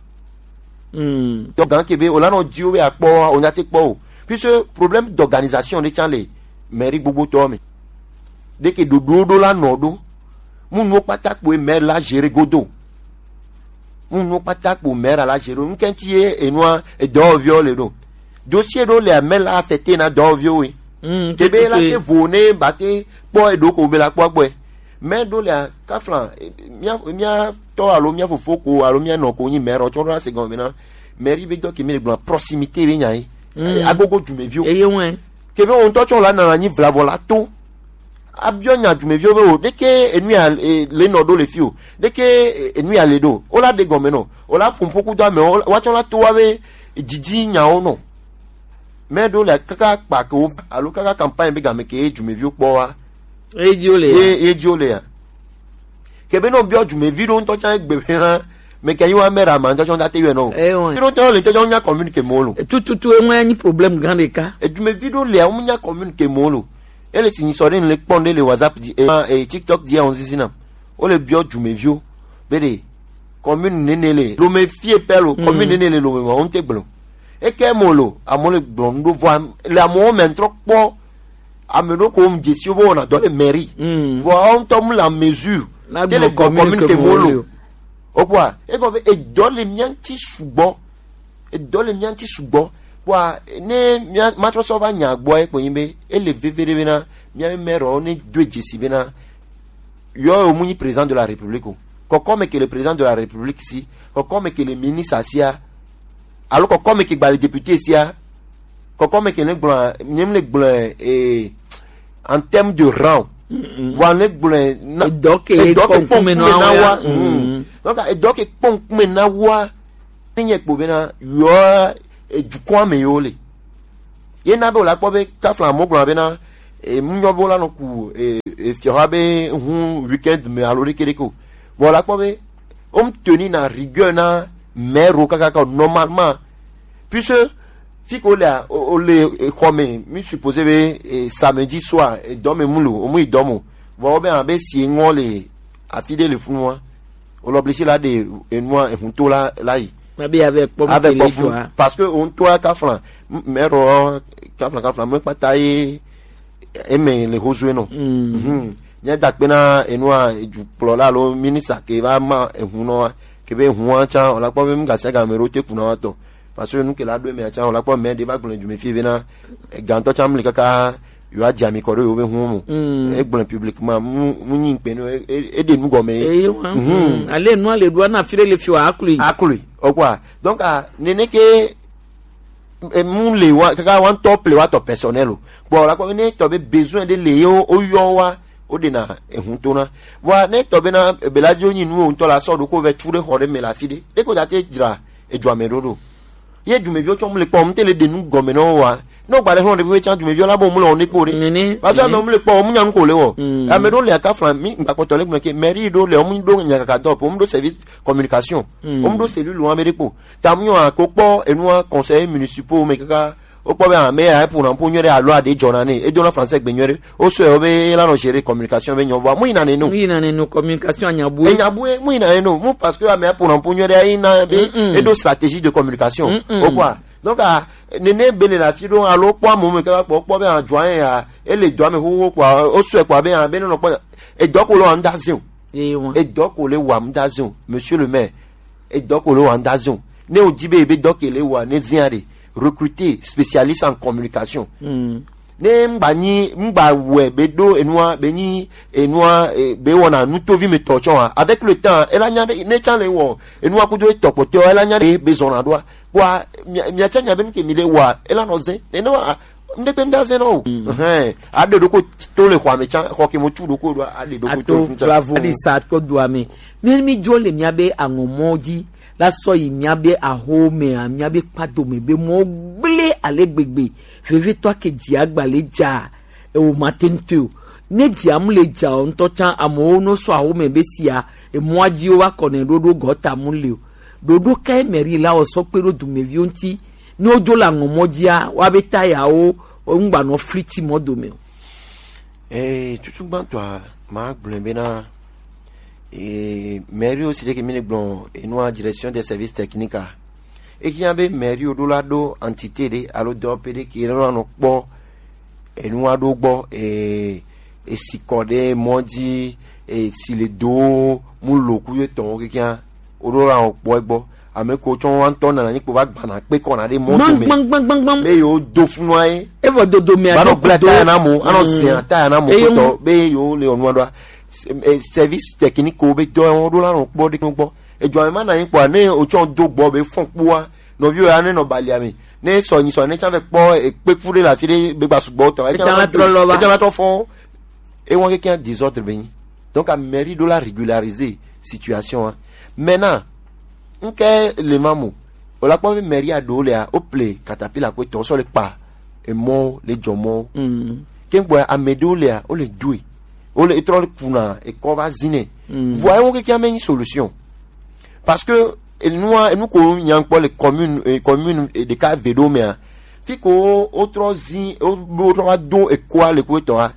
dɔ gan ke be o la nɔ dzi wo be akpɔ o nya te kpɔ o puisque problème d'organisation ɖe tsã le mairie gbogbo tɔ me ɖe ke ɖoɖo ɖo la nɔ ɖo mu nuwo kpata kpoe maire la gérer godo mu nuwo kpata kpo maire la gérer nu kɛntsi ye enua edɔwɔviwo le ɖo dossier ɖo le maire la affecté na dɔwɔviwo ye tebe la te vo ne ba te kpɔ eɖo ko be la kpɔ gbɔe maire ɖo le kafla mia mia tɔ alo mia fofo ko alo mia nɔ ko nyi maire tsɔ ɖo la se gɔme na mairie be dɔ ke mi le gblɔ proximité be nya ye agogo dumeviwo eye ŋue ke be wo ŋutɔ tsɔ la nana nyi vlavɔ la to abiɔ nya dumeviwo be o ɖeke enu ya le nɔ ɖo le fi o ɖeke enu ya le ɖo o la ɖe gɔme nɔ o la ƒoƒo kudo ame o wa tsɔ la to wa be didi nyawo nɔ mɛ ɖo le kaka kpa ke wo alo kaka campagne be game ke dumeviwo kpɔ wa eji o le ye ye ji o le ya kebe no biɔ dumevi ɖo ŋutɔ tsã egbe be hã me ke yi wa mɛ ɖe ama ŋutɔ tsɔ da te yɔ nɔ o ewe ɖo ŋutɔ le ŋutɔ tsɔ nya commune ke mo lo tututu eŋu ya nyi problème gã ɖeka edumevi ɖo le awu nya commune ke mo lo ele si nyi sɔ ɖe le kpɔn ɖe le whatsapp di e e tiktok di on zizi na o le biɔ dumeviwo be ɖe commune nene le lome fie pɛ lo commune nene le lome ma o ŋute gblɔ eke mo lo amewo le gblɔ nu ɖo vɔ le amewo mɛ ŋtrɔ kpɔ ame ɖo ko ŋdze si wo be wɔna dɔ le mairie vɔ awo ŋutɔ mu le amesure te le gɔ commune ke mo lo o kpɔa egɔ be edɔ le mia ŋti sugbɔ edɔ le mia ŋti sugbɔ kpɔa ne mia matrɔ sɔ va nya gbɔ ye kpɔ nyi be ele veve ɖe bena mia be maire ne do edze si bena yɔ yo mu nyi président de la république o kɔkɔ me ke le président de la république si kɔkɔ me ke le ministre sia alo kɔkɔ me ke gba le député sia kɔkɔ me ke ne gblɔ nye ne gblɔ eh, en terme de rang wa ne gblɔ na edɔ ke edɔ ke kpɔn kume na wa donc edɔ ke kpɔn kume na wa Ne nye kpo bena yɔ ejukɔa me yo le. Ye na be wòla kpɔ be kafla mo gblɔ bena e mu nyɔ be wòla nɔ ku e e fiɔha be hu weekend me alo ɖeke ɖeke o. Vɔ wòla kpɔ be wo mu teni na rigueur na mɛro kakaka o, normalement. Puisque fi ko le a o o le e, xɔ me, mi supposé be e, samedi soir e, dɔ me mu lo o mu yi dɔ mo. Vɔ wo be hã be si e ŋɔ le afi ɖe le funu wa. Wole obligé la ɖe enua ehuto la la yi. Mabe ave kpɔ mu ave kpɔ fun parce que ohun to aka flan mɛrɔ ka flan ka flan mɛ kpata ye eme le hozu enɔ. Mhm. Nye da kpe na enua dukplɔla alo minista ke va ma ehun nɔ wa ke be ehun wa tsa wòla kpɔ be mu gasi agame ɖo te kuna wa tɔ. Parce que nu ke la ɖo emea tsa wòla kpɔ mɛ ɖe va gblɔ dzume fi be na gantɔ tsa mu le kaka yewoadze ami kɔ ɖo yewo be hu me. Egblɔe publiquement, mu mu nyi ŋkpe nɔ, e- e- eɖe nu gɔme ye. Eye wa Mhm. ale nua le ɖoa na fi ɖe le fi wa aklu yi. Aklu yi, ɔkwa. Donc ah, nene ke e- mu le wa kaka wa ŋutɔ ple wa tɔ personnel o. Bon la kɔ ne tɔ be besoin ɖe le ye o yɔ wa o ɖe na ehun to na. Wa ne tɔ be na beladio nyi nu o ŋutɔ la sɔ ɖo ko vɛ tu ɖe xɔ ɖe me la fi ɖe. Ɖe ko da te dzra edzua me ɖo ɖo. Ye dumeviwo tsɔ mu le kpɔ mu te le ɖe nu gɔme na wo wa. Ne wogba ɖe xlɔ ɖe ƒe tsã dumeviwo la bo mu le wɔn ɖe kpo ɖe. Nene. Parce que ame mu le kpɔ wo mu nya nu ko le wɔ. Ame ɖewo le aka flan mi ŋgbakpɔtɔ le gblɔ ke mairie ɖewo le wo mu ɖo nya kaka dɔ po mu ɖo service communication. Wo mu ɖo cellule wɔn ame ɖe kpo. Ta mu nyɔ ko kpɔ enua conseil municipal me kaka wokpɔ be ame ya eƒona ƒo nyuie ɖe alo aɖe dzɔna ne edo na français gbe nyuie ɖe. Wo sɔe wo be la nɔ gérer communication be nyɔ vɔa mu yina ne no. Mu yina ne no communication anya bue. Enya bue mu yina ne no mu parce que ame aƒona ƒo nyuie ɖe yina be eɖo stratégie de communication. Wokpɔa donc ah, nene be le na fi ɖo alo kpɔ amewo me kaka kpɔ kpɔ be adzɔa ya ele dɔa me xoxo kpɔa wo sɔe kpɔa be ah be ne nɔ kpɔ edɔ ko le wa ŋda zin o. Edɔ ko le wa ŋda zin o, monsieur le maire. Edɔ ko le wa ŋda zin o. Ne o di be ebe dɔ ke le wa ne zin a ɖe recruter spécialiste en communication. Ne ŋgba nyi ŋgba wɛ be ɖo enua be nyi enua eh, be wɔna nutovi me tɔ tsɔ wa avec le temps ela nya ɖe ne tsa le wɔ enua kudo etɔ kpɔtɔ ela nya ɖe be zɔna ɖoa kpɔa mia mia tsa nya be nu ke mi ɖe wa ela nɔ zin nene wa ŋɖe gbe ŋda zin nɔ o hɛn aɖe ɖoko to le xɔa me tsa xɔ ke mo tu ɖoko ɖoa aɖe ɖoko to le fun tsa. Aɖi sa kɔ doa me mi mi dzo le mia be aŋɔmɔ dzi la sɔ yi mia be aho me a mia be kpado me be mɔ gble ale gbegbe. Vevitɔ ke dzi agba le dza ewo ma te ŋutɔ o. Ne dzi amu le dza o ŋutɔ tsã amewo no sɔ awo me be sia emɔa dzi wo va kɔ ne ɖoɖo gɔta mu le o. Ɖoɖo kae mɛri la wɔ sɔ kpe ɖo dumeviwo ŋuti ne wodzo le aŋɔmɔ dzia woa be ta yawo ŋgba nɔ fliti mɔ dome o. Ee, tutu gbãtɔa magblɔe bena ee, mɛri wo si ɖe ke mi le gblɔ enua direction des services techniques a. Ehiã be mɛri wo ɖo la ɖo entité ɖe alo dɔwɔƒe ɖe ke nɔ nɔ kpɔ enua ɖo gbɔ e esikɔ ɖe mɔ dzi esi le do mu lo ku ye tɔn wo kekeŋ wo ɖo la wo kpɔ egbɔ ame ko tsɔ wa ŋutɔ nana nyi kpo va gbana kpe kɔna ɖe mɔ dome gbangbangbangban be yewo do funua ye evɔ dodo mea va nɔ gblẽ taya na mo anɔ zia taya na mo kpotɔ be yewo le ɔnua ɖoa service technique wo be dɔ wo ɖo la nɔ kpɔ ɖe gbɔ edzɔ ame ma na nyi kpɔa ne o tsɔ do gbɔ be fɔn kpoa nɔviwo ya ne nɔ balia me ne sɔ nyi sɔ ne tsã vɛ kpɔ ekpe fu ɖe le afi ɖe be gba sugbɔ tɔ etsã la trɔ lɔ va etsã la trɔ fɔ ewɔn keke désordre be nyi donc a mairie ɖo la régulariser situation a maintenant nke le ma mo o la kpɔ be mairie a ɖo le a o ple katapila ko tɔ sɔ le kpa emɔ le jɔ mɔ ke gbɔ ame ɖewo le a o le doe o le etrɔ le kuna ekɔ va zi nɛ vɔ ewɔn keke ame nyi solution parce que enua enu ko nya kpɔ le commune eh, commune eh, ɖeka ve ɖo mea fi ko wotrɔ zi wotrɔ va do ekoa le ko etɔ ha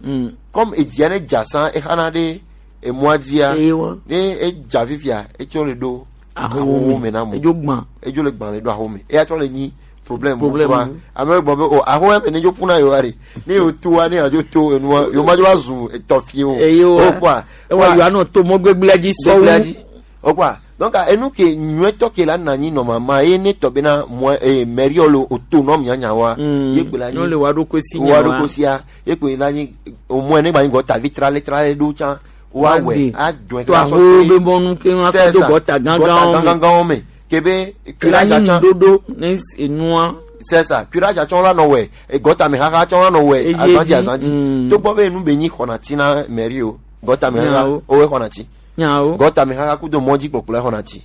comme edzia ne dza san exana ɖe emɔa dzia ne edza fifia etsɔ le ɖo ahowo me na mo edzo gbã edzo le gbã le ɖo ahowo me eya trɔ le nyi problème problème ame gbɔ be o ahowo me ne dzo kuna yo ari ne yo tu wa ne adzo to enua yo ma dzo va zu etɔ fie o o kwa ewa yo anɔ to mɔ gbegblẽ dzi sɔwu. Okwa donc enu ke nyuetɔ ke la nanyi nɔ mama ye ne tɔ bena mɔ eh, mɛriɔ le autonome nyanya wa ye gbe la nyi nyɔ le wa ɖo kosi wa ɖo kosia ye gbe la nyi omɔ ne gba nyi gɔ tavi trale trale ɖo tsa wa wɛ a dɔn to aho be bɔnu ke ma sɔ do gɔta gangan me ke be la curage nyi atsa dodo ne enua c'est ça curage atsa la nɔ wɛ gɔta me haha tsa la nɔ wɛ azanti azanti to gbɔ be enu be nyi xɔna ti na mɛri o gɔta me haha o wɛ xɔna ti nyawo gɔta me haha kudo mɔdzi kpɔkplɔ exɔna ti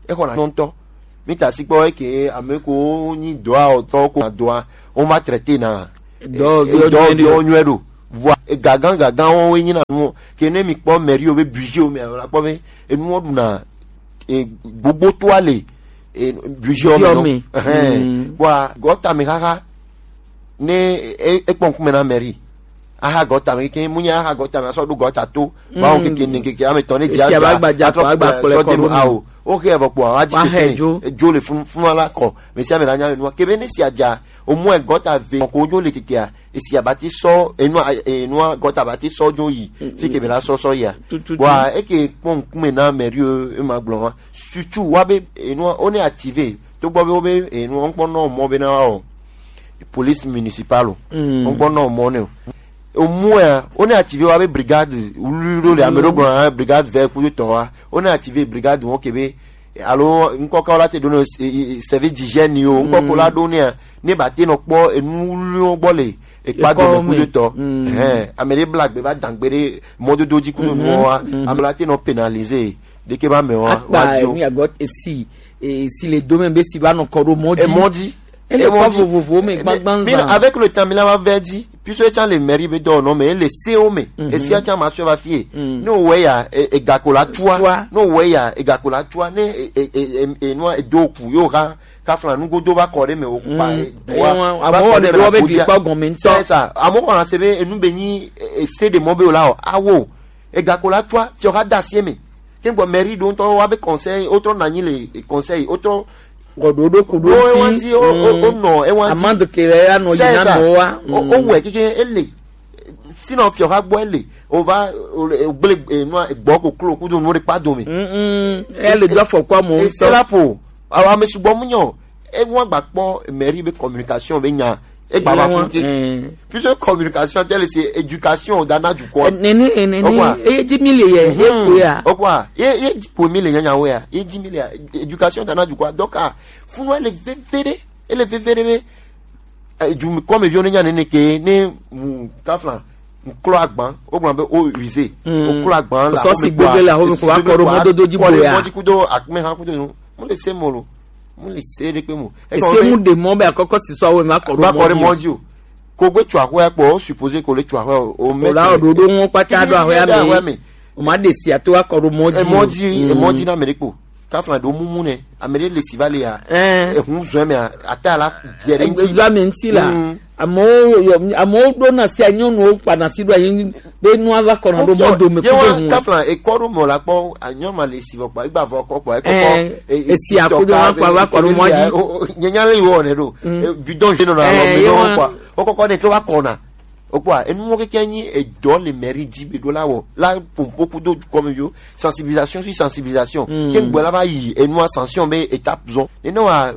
exɔna ti ŋutɔ Mi ta si kpɔ eke ame ko nyi dɔa ɔtɔ ko na dɔa, on va traiter na dɔ dɔ dɔ nyuɛ ɖo. Vɔa ega gã gã gã wo nyi na nu ke ne mi kpɔ mairie wo be budget wo me la kpɔ be enu wo ɖu na e, gbogbo to ale e, budget wo me. Ɛhɛn. Vɔa gɔta me xaxa ne e, e kpɔ ŋkume na mairie. Aha gɔta me ke mu nya aha gɔta me asɔ ɖo gɔta to. Ba wo keke ne keke ame tɔ ne dzi esi agba agba dza kɔ agba kplɔ kɔ ɖo mi. Awo. O ke vɔ kpɔ awa dzi keke jo le fun fun ala kɔ. Me sia me la nya me nua. Ke be ne si adza o mu e gɔta ve ko jo le keke a. Esi abati sɔ enua enua gɔta abati sɔ jo yi. Fi ke be la sɔ sɔ ya. Wa e ke kpɔ ŋkume na mairie e ma gblɔ ma. Surtout wa be enua o ne activé. To gbɔ be o be enua ŋkpɔ nɔ mɔ be na wa o. Police municipale o. Ŋkpɔ nɔ mɔ ne o. Omu ya o ne activé wa be brigade wulu ɖo le ame ɖo gblɔ na brigade vɛ kudo tɔ wa o ne activé brigade wo ke be alo ŋkɔ ka wo la te ɖo ne service d'hygiène o ŋkɔ ko la ɖo ne ne ba te nɔ kpɔ enu wulu wo gbɔ le ekpa do me kudo tɔ. Ɛhɛn, ame ɖe bla gbe va dangbe ɖe mɔdodo dzi kudo nu wa ame la te nɔ pénalisé ɖeke ba me wa wa di o. Akpa mi agɔ esi esi le do me be si va nɔ kɔ ɖo mɔ di. Emɔ di. Ele kɔ vovovo me gbagban zan. Avec le temps mi la va vɛ di puisque etsa le mairie be dɔ nɔ me ele se o me esi atsa ma sɔ va fie. Ne o wɛ ya e gako la tua ne o wɛ ya e gako la tua ne e e e e nua e do ku yo ha ka flan nugo do va kɔ ɖe me o pa e do wa va kɔ ɖe me la ko dia. C'est ça. Amo kɔ na se be enu be nyi e se de mɔ be o la o awo. Ega ko la tua fiɔ ha da sie me. Ke gbɔ mairie ɖo ŋutɔ wa be conseil wotrɔ na anyi le conseil wotrɔ. Ɔɖo ɖo ku ɖo ti o nɔ ewa ti amande ke ya nɔ yi na nɔ wa o wɛ keke ele. Sinɔ fiɔ ha gbɔ ele o va gble enua gbɔ koklo kudo nu ɖe kpa dome. Ele do afɔkua mo ŋutɔ. Esela po awo ame sugbɔ mu nyɔ. Ewa gba kpɔ mairie be communication be nya egba va fun ke. Puisque communication telle c'est éducation dana dukɔ. Nene nene eye di mi le ye ye ko ya. Okwa ye ye ko mi le nyanya wo ya ye di mi le ya éducation dana dukɔ donc ah funu ele veve ɖe ele veve ɖe be du comme vieux ne nya nene ke ne mu kafla nklo agban o gban be o use o klo agban la so si gbegbe la ho ko wa ko ro mododo di bo ya ko di kudo akme ha kudo no mo le se mo lo. Mo le se ɖekpe mo. Ese mu ɖe mɔ be akɔkɔ si sɔ awo ma kɔ ɖo mɔ dzi o. Ko gbe tso axɔa kpɔ o supposé ko le tso axɔa o mɛ. O la o ɖoɖo ŋɔ kpata ɖo axɔa me. O ma ɖe si ato akɔ ɖo mɔ dzi. Emɔ dzi emɔ dzi na ame ɖe kpo. Kafla ɖo mumu nɛ ame ɖe le si va le ya. Ehun zɔn mɛ ata la biɛ ɖe ŋti. Egbe ame ŋti la. Amewo yɔ amewo ɖo na sia nyɔnuwo kpa na si ɖo anyi be nua va kɔna ɖo mɔ dome kudo ŋu. Kafla ekɔ ɖo mɔ la kpɔ anyɔ ma le si vɔ kpa egba vɔ kɔ kpɔ ekɔ kɔ esi akodo ma kpa va kɔ ɖo mɔ dzi. Nye nya le wɔ ne ɖo bidon je nɔ na lɔ mi nɔ kpa o kɔkɔ ne to va kɔna o kpa enu mo keke nyi edɔ le mairie dzi be ɖo la wɔ la pompo kudo kɔmi yo sensibilisation sur sensibilisation ke gbɛ la va yi enua sanction be étape zɔn ne ne wa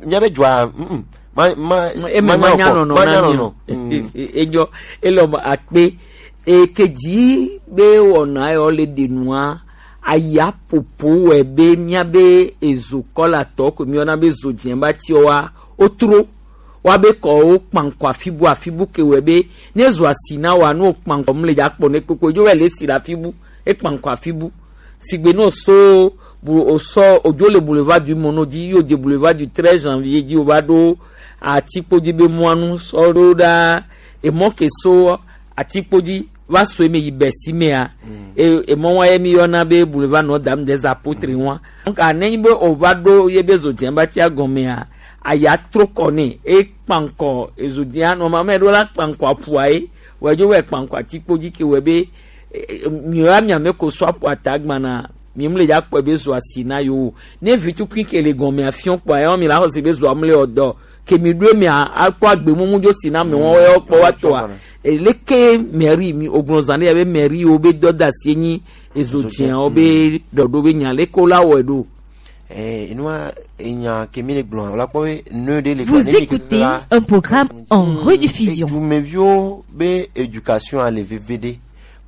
mia be dzɔa mm ma ma ma nya nɔnɔ ma nya nɔnɔ. Enyɔ elɔ akpe ekedzi be wɔna yɔ le ɖe nua aya popo wɛ be mia be ezo kɔla tɔ ko mi yɔna be zo diɛ ba ti wa o tro wa be kɔ o kpankɔ afibu afibu ke wɛ be ne zo asi na wa no kpankɔ mu le dza kpɔ ne kpekpe dzo wɛ le si la afibu e kpankɔ afibu. Sigbe ne o so bu o sɔ o dzo le boulevard du Mono dzi, yo dze boulevard du treize janvier dzi o va ɖo atikpo dzi be mɔanu sɔ ɖo ɖa emɔ ke so atikpo dzi va so eme yi bɛsi mea. E emɔ wa ye mi yɔna be boulevard Notre Dame des Apôtres wa. Donc a ne nyi be o va ɖo ye be zo diɛ ba tia gɔmea aya tro kɔ ne e kpankɔ ezo diɛ anɔ ma me ɖo la kpankɔ apua ye wɛ dzo wɛ kpankɔ atikpo dzi ke wɛ be mi wa mi ame ko so apua ta gbana. Mi mu le dza kpɔe be zo asi na yo o. Ne vi tukui ke le gɔme afiɔ kpɔa ya mi la xɔse be zo amu le ɔdɔ ke mi ɖo mi akpɔ agbe mumu dzo si na mi wɔn yɔ kpɔ wa tɔa. Leke mairie mi ogbɔn zan ɖe ya be mairie wo be dɔ da si enyi ezo tiɛ wo be dɔɖo be nya leke wo la wɔe ɖo. Eh, enua enya ke mi le gblɔ la kpɔ be ne ɖe le. Vous écoutez un programme en rediffusion. Edumeviwo be éducation a le veve ɖe.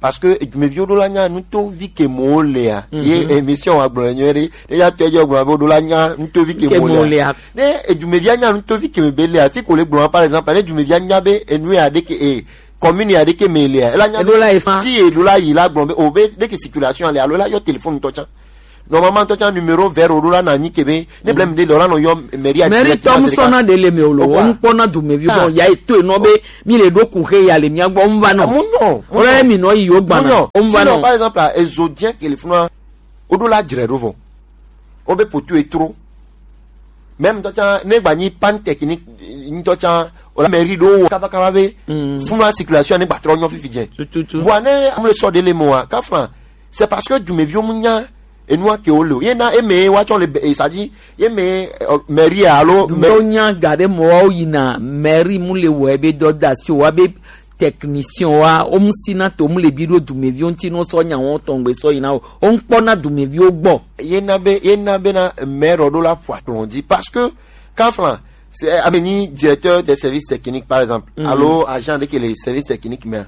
Parce que edumeviwo ɖo la nya nutovi ke mo lea. Ye émission wa gblɔ nyuie ɖe. Ne ya tɔ edze gblɔ be ɖo la nya nutovi ke mo lea. Ne edumevia nya nutovi ke me be lea, fi ko le gblɔ par exemple, ne edumevia nya be enu ya ɖe ke e commune ya ɖe ke me lea. Ela nya ɖo la efa fi e ɖo la yi la gblɔ be o be ɖe ke circulation le alo la yɔ téléphone tɔ tsa. Normalement, ŋutɔ tsã numéro vert ɖo la na nyi ke be ne blem de lɔ la nɔ yɔ mairie a. Mairie tɔ mu sɔna de le me o lo. Wo ŋkpɔ na dumevi bɔ ya eto enɔ be mi le ɖo ku he ya le mia gbɔ ŋva nɔ. Mu nɔ. Ore mi nɔ yi yo gbana. Mu nɔ. Ŋva nɔ. Sinon, par exemple, ezo diɛ ke le funua, o ɖo la dzre ɖo vɔ. O be potu etro. Même ŋutɔ tsã ne gba nyi panne technique ŋutɔ tsã, o la mairie ɖo wɔ kaba kaba be funua circulation ne gba trɔ nyɔ fifi dze. Tututu. Vɔa ne amu le sɔ de le me wa, kafla, c'est parce que dumeviwo mu nya enua ke wo le o. Ye na eme wa tsɔ le be, e, sa dzi, ye me, e, mairie alo me. Dumeviwo nya ga ɖe mɔ wa wo yina mairie mu le wɔ ebe dɔ da si o wa be technicien wa, wo mu si na to mu le bi ɖo dumeviwo ŋuti no sɔ nya wo tɔn gbe sɔ yina o. Wo ŋkpɔ na dumeviwo gbɔ. Ye na be, ye na be na maire ɖo la ƒo akplɔ dzi parce que kafla, c'est, ame nyi directeur des services techniques, par exemple, alo agent de ke le service technique mea.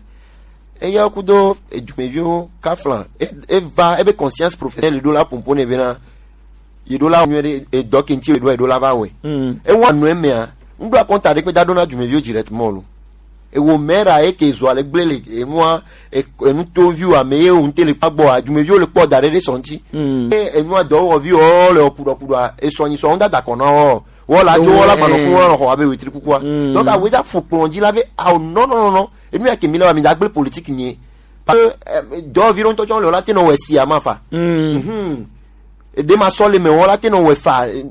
Eya kudo edumeviwo kafla, e, e va, ebe conscience professionnelle ɖo la pompo ne be na, ye ɖo la nyuie ɖe, e dɔ ke ŋuti ye ɖo, ye ɖo la va wɛ. E wa nu emea, ŋɖo akɔnta ɖe kpe da ɖo na dumeviwo directement lo. Ewo mera eke zo ale gblẽ le enua, e, enu toviwo ame ye wo ŋte le kpa gbɔ a, dumeviwo le kpɔ da ɖe ɖe sɔ ŋti. E, enua dɔwɔviwo le kuɖɔ kuɖɔ a, esɔ nyi sɔ ŋda da kɔ na wo. Wo la dzo, wo la gbanɔ fún wo la xɔ abe wetri kukua. Donc awo da ƒo kplɔ dzi la be, awo, non, non, non, non. Enu ya ke mi le wa, mi da gblẽ politique nyi. Parce que, eh, dɔwɔvi ɖo ŋutɔ tsɔ le wo la te nɔ wɛ si ama fa. Mhm. Ɖe ma sɔ le me wo la te nɔ wɛ fa, eh,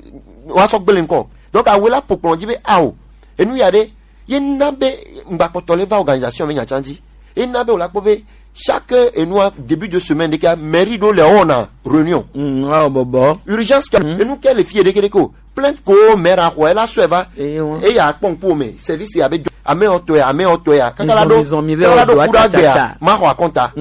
wa sɔ gblẽ ŋkɔ. Donc awo la ƒo kplɔ dzi be, awo, enu ya ɖe, ye na be ŋgbakpɔtɔ le va organisation be nya tsã dzi. Ye na be wo la kpɔ be chaque enua début de semaine ɖe ke mairie ɖo le wɔna réunion. Mm, wa bɔbɔ. Urgence ke enu ke le fie ɖeke ɖeke o. Plainte ko maire a xɔ, ela sɔe va. Eya kpɔ ŋku me service ya be do ame ɔtɔ ya, ame ɔtɔ ya. Kaka la do, kaka la do kuɖa gbea, ma xɔ akɔnta.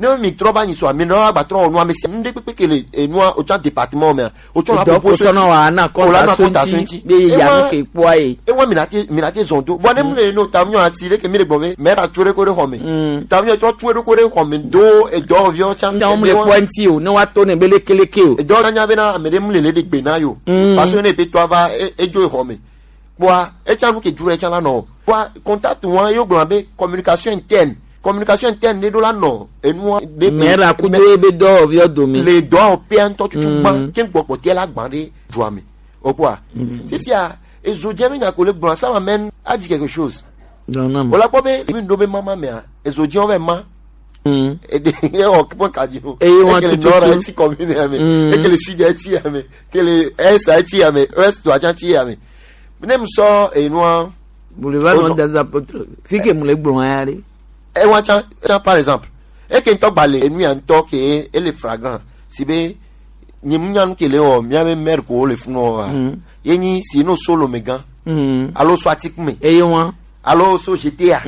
Ne mi trɔ ba nyi sɔ, mi nɔ agba trɔ nu ame si ŋɖe kpekpe ke le enua, o tsã département me. O tsɔ la dɔ proposé sɔnɔ wa na kɔnta so ŋti be ya nu ke kpɔa ye. Ewa mi na te, mi na te zɔn do. Vɔ ne mu le no tam nyɔ asi ɖe ke mi le gbɔ be, mɛ ra tso ɖe ko ɖe xɔ me. Tam nyɔ tsɔ tso ɖe ko ɖe xɔ me do edɔ viɔ tsã. Nya mu le kpɔ ŋti o, ne wa to ne be lekeleke o. Edɔ nya be na ame ɖe mu le le ɖe gbe na yo. Parce que ne pe to ava e, edzo exɔ me. Kpɔa, etsã nu ke dzro etsã la nɔ. Kpɔa, contact wa yo gblɔ be communication interne. Communication interne ne ɖo la nɔ enua ɖe. Mɛ la kudo ebe dɔwɔviɔ dome. Le dɔwɔƒea ŋutɔ tutu gbã, ke gbɔ kpɔtɛ la gbã ɖe dua me. O kpɔa. Fifia, ezo dze be nya ko le gblɔ, ça m'amène à dire quelque chose. O la kpɔ be mi ɖo be mama mea, ezo dze wo be ma. Ede ye wɔ kpɔ kadzi o. Eye wɔn tututu. Ekele nord eti commune ya me. Ekele sud eti ya me. Kele est eti ya me. Ouest to atsa ti ya me. Ne mu sɔ enua. Boulevard Ozɔ. Des Apôtres. Fi ke mu le gblɔ ya ɖe. Ewa tsa, tsa, par exemple. Eke ŋutɔ gba le enu ya ŋutɔ ke ele flagrant. Si be, nye mu nya nu ke le wɔ, mia be maire ko le funu wa. Ye nyi si no solo me gan. Alo so atikme. Eye wa. Alo so G T A.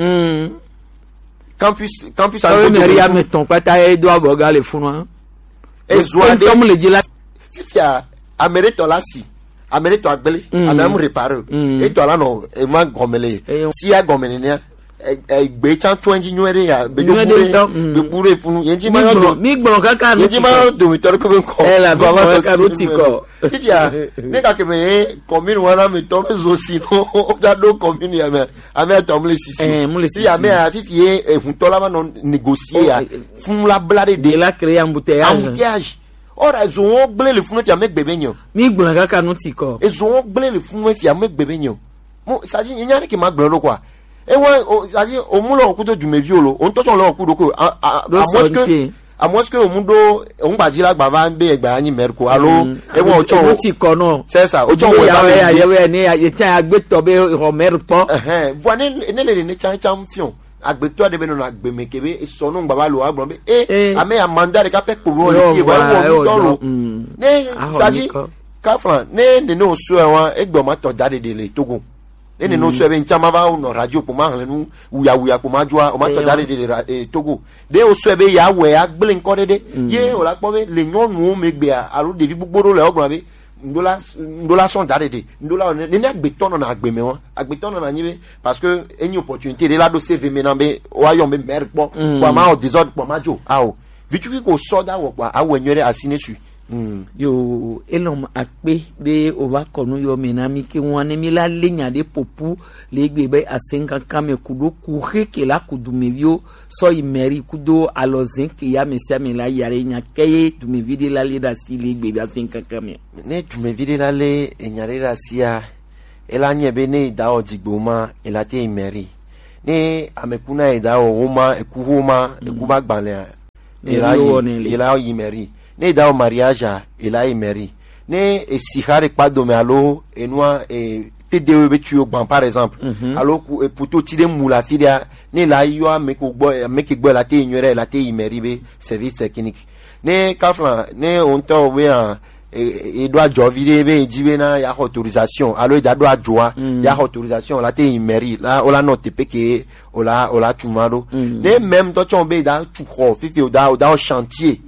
Campus, campus. Awo mairie ame tɔn kpata ye do abɔ ga le funu. Ezo aɖe. Ŋutɔ mu le dzi la. Fifia, ame ɖe tɔ la si, ame ɖe tɔ agble, ame amu repare o. Etɔ la nɔ ema gɔme le. Si ya gɔme nenea. Egbe tsa tso edzi nyuie ɖe ya, be do bu ɖe, be bu ɖe funu. Yedzi ma yɔ do. Mi gblɔ kaka nu. Yedzi ma yɔ do mi tɔ ɖe ko be ŋkɔ. Ela mi gblɔ kaka nu ti kɔ. Fifia, ne gake me ye commune wana me tɔ be zo si no, o ja do commune ya me. Ame atɔ mu le sisi. Eh, mu le sisi. Si ame a fifi ye ehuntɔ la va nɔ négocier ya. Funu la bla ɖe ɖe. De la créer embouteillage. Embouteillage. Ora ezo wo gblẽ le funu fia me gbe be nyo. Mi gblɔ kaka nu ti kɔ. Ezo wo gblẽ le funu fia me gbe be nyo. Mo, ça dit, il n'y a rien qui m'a gblẽ quoi. E wa, ça dit, o mu lɔ kudo dumevi o lo, o ŋutɔ tsɔ lɔ kudo ko. À moins que, à moins que o mu do, o ŋgba dzi la gba va be egba anyi maire ko. Alo, e wa o tsɔ o ti kɔ nɔ. C'est ça, o tsɔ o ya ya ya ne ya tsa ya gbe tɔ be xɔ maire kpɔ. Vɔ ne, ne le ne tsa tsa fiɔn. Agbetɔ ɖe be nɔnɔ agbe me ke be esɔ nɔ ŋgba va lo agblɔ be, e, ame ya mandat ɖeka pɛ kpo lo le fie, wa wɔ ŋutɔ lo. Ne, ça dit, kafla, ne, ne, ne o sɔe wa, egbe o ma tɔ da ɖeɖe le Togo. Ne, ne, ne o sɔe be ŋtsã ma va nɔ radio kpo ma hlẽ nu, wuya, wuya kpo ma dzɔa, o ma tɔ da ɖeɖe le ra-, eh, Togo. Ɖe o sɔe be ya wɛ ya gblẽ ŋkɔ ɖe ɖe. Ye o la kpɔ be le nyɔnuwo me gbea, alo ɖevi gbogbo ɖo le o gblɔ be, ŋɖo la, ŋɖo la sɔn da ɖeɖe, ŋɖo la ne, ne, ne agbetɔ nɔna agbe me wa, agbetɔ nɔna nyi be, parce que enyi opportunité ɖe la ɖo C V me na be, wa yɔ be maire kpɔ, kpɔ ma o désordre kpɔ ma dzo, ao. Vitsuki ko sɔ da wɔ kpɔ, awɔ nyuie ɖe asi ne sui. Mm. Yo, elɔm akpe be o va kɔ nu yɔ me na mi ke ŋua ne mi la le nya ɖe popu le egbe be asenkankan me ku ɖo ku xe ke la ku dumeviwo sɔ yi mɛri kudo alɔzɛn ke ya me sia me la ya ɖe nya ke ye dumevi ɖe la le ɖe asi le egbe be asenkankan me. Ne dumevi ɖe la le enya ɖe ɖe asia, ela nye be ne eda wɔ dzigbe ma, ela te yi mɛri. Ne ameku na eda wɔ wo ma, eku ho ma, eku ba gbalea, ela yi, ela yi mɛri. Ne eda wɔ mariage a, ela yi mɛri. Ne esi xa ɖe kpa dome alo enua, e, te de wo be tu yo gban, par exemple, alo ku, e, poto ti ɖe mu la fi ɖea, ne la yɔ ame ko gbɔ, ame ke gbɔ la te yi nyuie ɖe, la te yi mɛri be service technique. Ne kafla, ne o ŋutɔ be a, e, e, e ɖo adzɔ vi ɖe be e di be na ya xɔ autorisation, alo e da ɖo adzɔa, ya xɔ autorisation, la te yi mɛri, la, o la nɔ teƒe ke, o la, o la tu ma ɖo. Ne même ŋutɔ tsɔ be e da tu xɔ, fifi o da, o da wɔ chantier,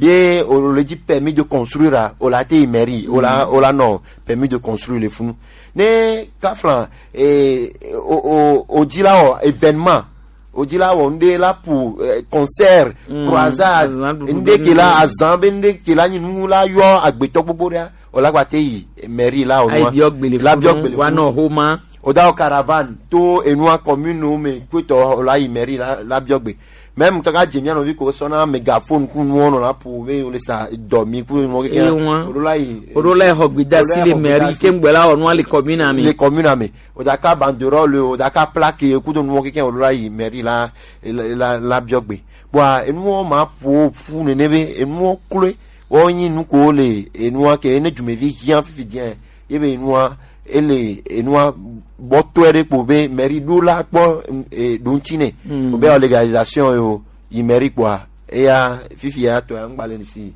ye o le di permis de construire a, o la te yi mɛri, o la, o la nɔ permis de construire le funu. Ne kafla, e, o, o, o di la wɔ événement, o di la wɔ ŋɖe la pour, eh, concert, croisade, ŋɖe ke la azan be ŋɖe ke la nyi nu la yɔ agbetɔ gbogbo ɖea, o la gba te yi mairie la o nua. Ayi biɔ gbele la biɔ gbele wa nɔ homa. O da o caravane to enua commune me kuetɔ o la yi mairie la, la biɔ gbe. Même kaka dze mia nɔvi ko sɔna mégaphone ku nuwo nɔ la pour be o le sa dɔ mi ku nuwo keke. Ewa. O ɖo la yi. O ɖo la yi xɔ gbedasi le mairie ke ŋgbɛ la wɔ nua le commune ame. Le commune ame. O da ka banderole, o da ka plaque, kudo nuwo keke o ɖo la yi mairie la, la, la, la biɔ gbe. Bua enuwo ma ƒo ƒu nene be enuwo kloe. Wo nyi nu ko le enua ke ne dumevi hiã fifi diɛ. Ye be enua, ele enua bɔtɔe ɖe kpo be mairie ɖo la kpɔ, e, ɖo ŋuti nɛ. O be o légalisation yo, yi mairie kpɔa, eya fifi ya tɔ ya ŋgba le nisi.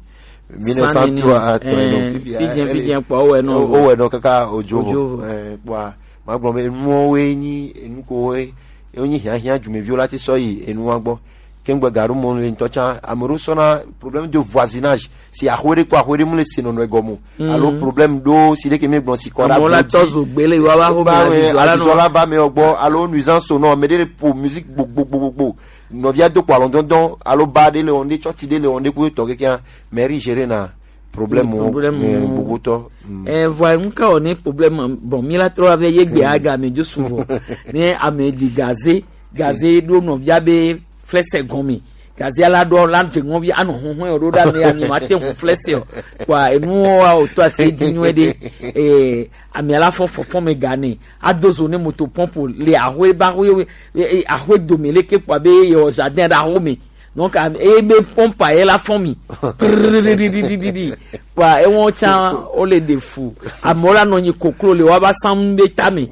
Mille neuf cent trois atɔ eno, fifi ya, fidien, ele, fidien kpɔ, o wɛ nɔ o, vo. O wɛ nɔ kaka ojo vo. Ojo vo. Eh, kpɔa, ma gblɔ be enuwo woe nyi enu ko woe, wo nyi hiahiã dumeviwo la te sɔ yi enua gbɔ. Kengbe gaɖo mo le ŋutɔ tsã, ame ɖewo sɔna problème de voisinage. Si axwe ɖe kɔ axwe ɖe mu le se nɔnɔ egɔme o. Alo problème ɖo si ɖe ke mi gblɔ si kɔ ɖe amewo la tɔ zo gbe le yewoa va xɔ me azizɔ la nɔ. Azizɔ la va me gbɔ, alo nuisance sonore, ame ɖe le po musique gbogbogbogbo. Nɔvia do kpɔ alɔdɔdɔ, alo ba ɖe le wɔn ɖe, tsɔtsi ɖe le wɔn ɖe, kudo tɔ kekea, mairie gérer na problème wo, eh, gbogbo tɔ. Mm. Eh, vɔa, ŋka wɔ ne problème, bon, mi la trɔ ave ye gbe aga me jo souvent. Ne ame di gaze, gaze ɖo nɔvia be flɛsɛ gɔme. Gaze la ɖo la dze ŋɔvi anɔ huhun o ɖo ɖa me ami ma te hu flɛsɛ o. Kwa enu wa o to ase di nyuie ɖe. Eh, ame la fɔ fɔfɔ me gane. Ado zo ne moto pompe le ahwe ba hwe, eh, eh, ahwe dome leke kpɔ be ye o jardin ɖe aho me. Donc, am-, eye be pompe ye la fɔ mi. Kpɔa, ewɔn tsã, wo le ɖe fu. Amewo la nɔ nyi koklo le woaba sam be tame.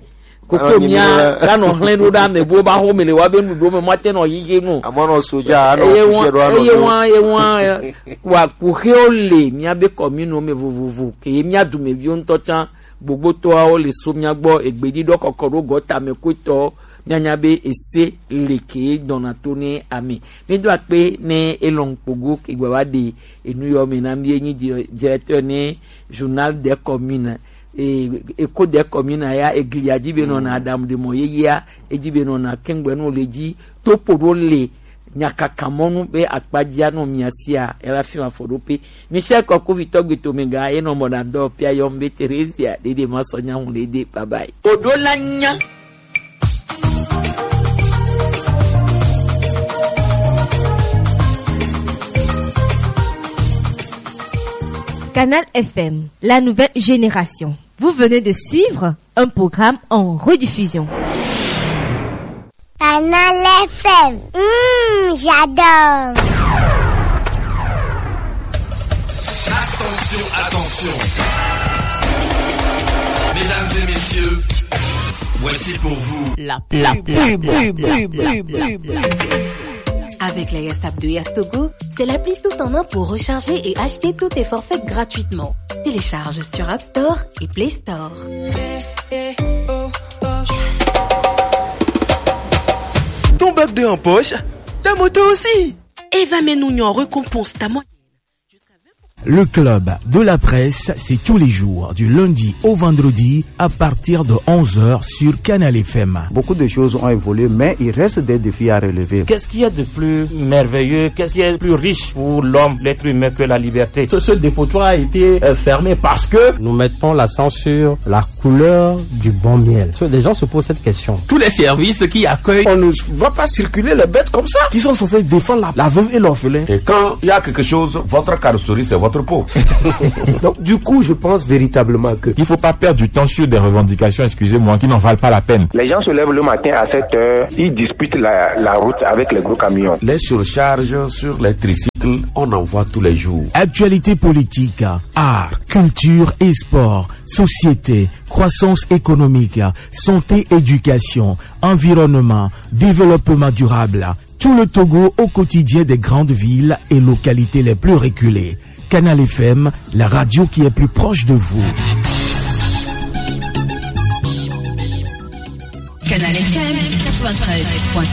Koko mia la nɔ hlẽ ɖo ɖe ame bo ba xɔ me le woabe nuɖuɖu me, mate nɔ yiyi nu. Amewo nɔ soja, anɔ kusi ɖo, anɔ eye ɖo. Wan, eye wan, wa kuxewo le mia be kɔmino me vovovo, ke ye mia dumeviwo ŋutɔ tsã, gbogbotɔawo le so mia gbɔ, egbeɖiɖɔ kɔkɔ ɖo gɔta me kotɔ, míanya be ese le ke dɔna to ne ame. Mído akpe ne elɔn kpogo ke gba va ɖe enu yɔ me na mí, enyi di-, directeur ne Journal des Communes, e, Echo des Communes ya, eglia dzi be nɔna, Adam de mɔ yeyea, edzi be nɔna kengbe no le dzi, topo ɖo le nyakaka mɔnu be akpadzia nɔ mia sia, ela fi ma fɔ ɖo pe. Michel Kɔkuvitɔ gbe to me ga, enɔ mɔ na dɔ pia yɔm be Theresia, ɖeɖe ma sɔ nya ŋu ɖeɖe, bye bye. Oɖo la nya. Canal F M, la nouvelle génération. Vous venez de suivre un programme en rediffusion. Canal F M. Mmh, j'adore. Attention, attention. Mesdames et messieurs, voici pour vous la pub. Avec la Yastap de Yastogo, c'est l'appli tout en un pour recharger et acheter tous tes forfaits gratuitement. Télécharge sur App Store et Play Store. Ton bac deux en poche, ta moto aussi. Eva Menugnon récompense ta moyenne. Le club de la presse, c'est tous les jours, du lundi au vendredi, à partir de onze heures sur Canal F M. Beaucoup de choses ont évolué, mais il reste des défis à relever. Qu'est-ce qu'il y a de plus merveilleux, qu'est-ce qui est plus riche pour l'homme, l'être humain, que la liberté ? Ce, ce dépotoir a été euh, fermé parce que nous mettons l'accent sur la couleur du bon miel. Les gens se posent cette question. Tous les services qui accueillent, on ne va pas circuler les bêtes comme ça, qui sont censées défendre la, la veuve et l'orphelin. Et quand il y a quelque chose, votre carrosserie, c'est votre peau. Donc, du coup, je pense véritablement que il faut pas perdre du temps sur des revendications, excusez-moi, qui n'en valent pas la peine. Les gens se lèvent le matin à sept heures, ils disputent la, la route avec les gros camions. Les surcharges sur les tricycles, on en voit tous les jours. Actualité politique, art, culture et sport, société, croissance économique, santé, éducation, environnement, développement durable. Tout le Togo au quotidien des grandes villes et localités les plus reculées. Canal F M, la radio qui est plus proche de vous. Canal F M quatre-vingt-treize point cinq.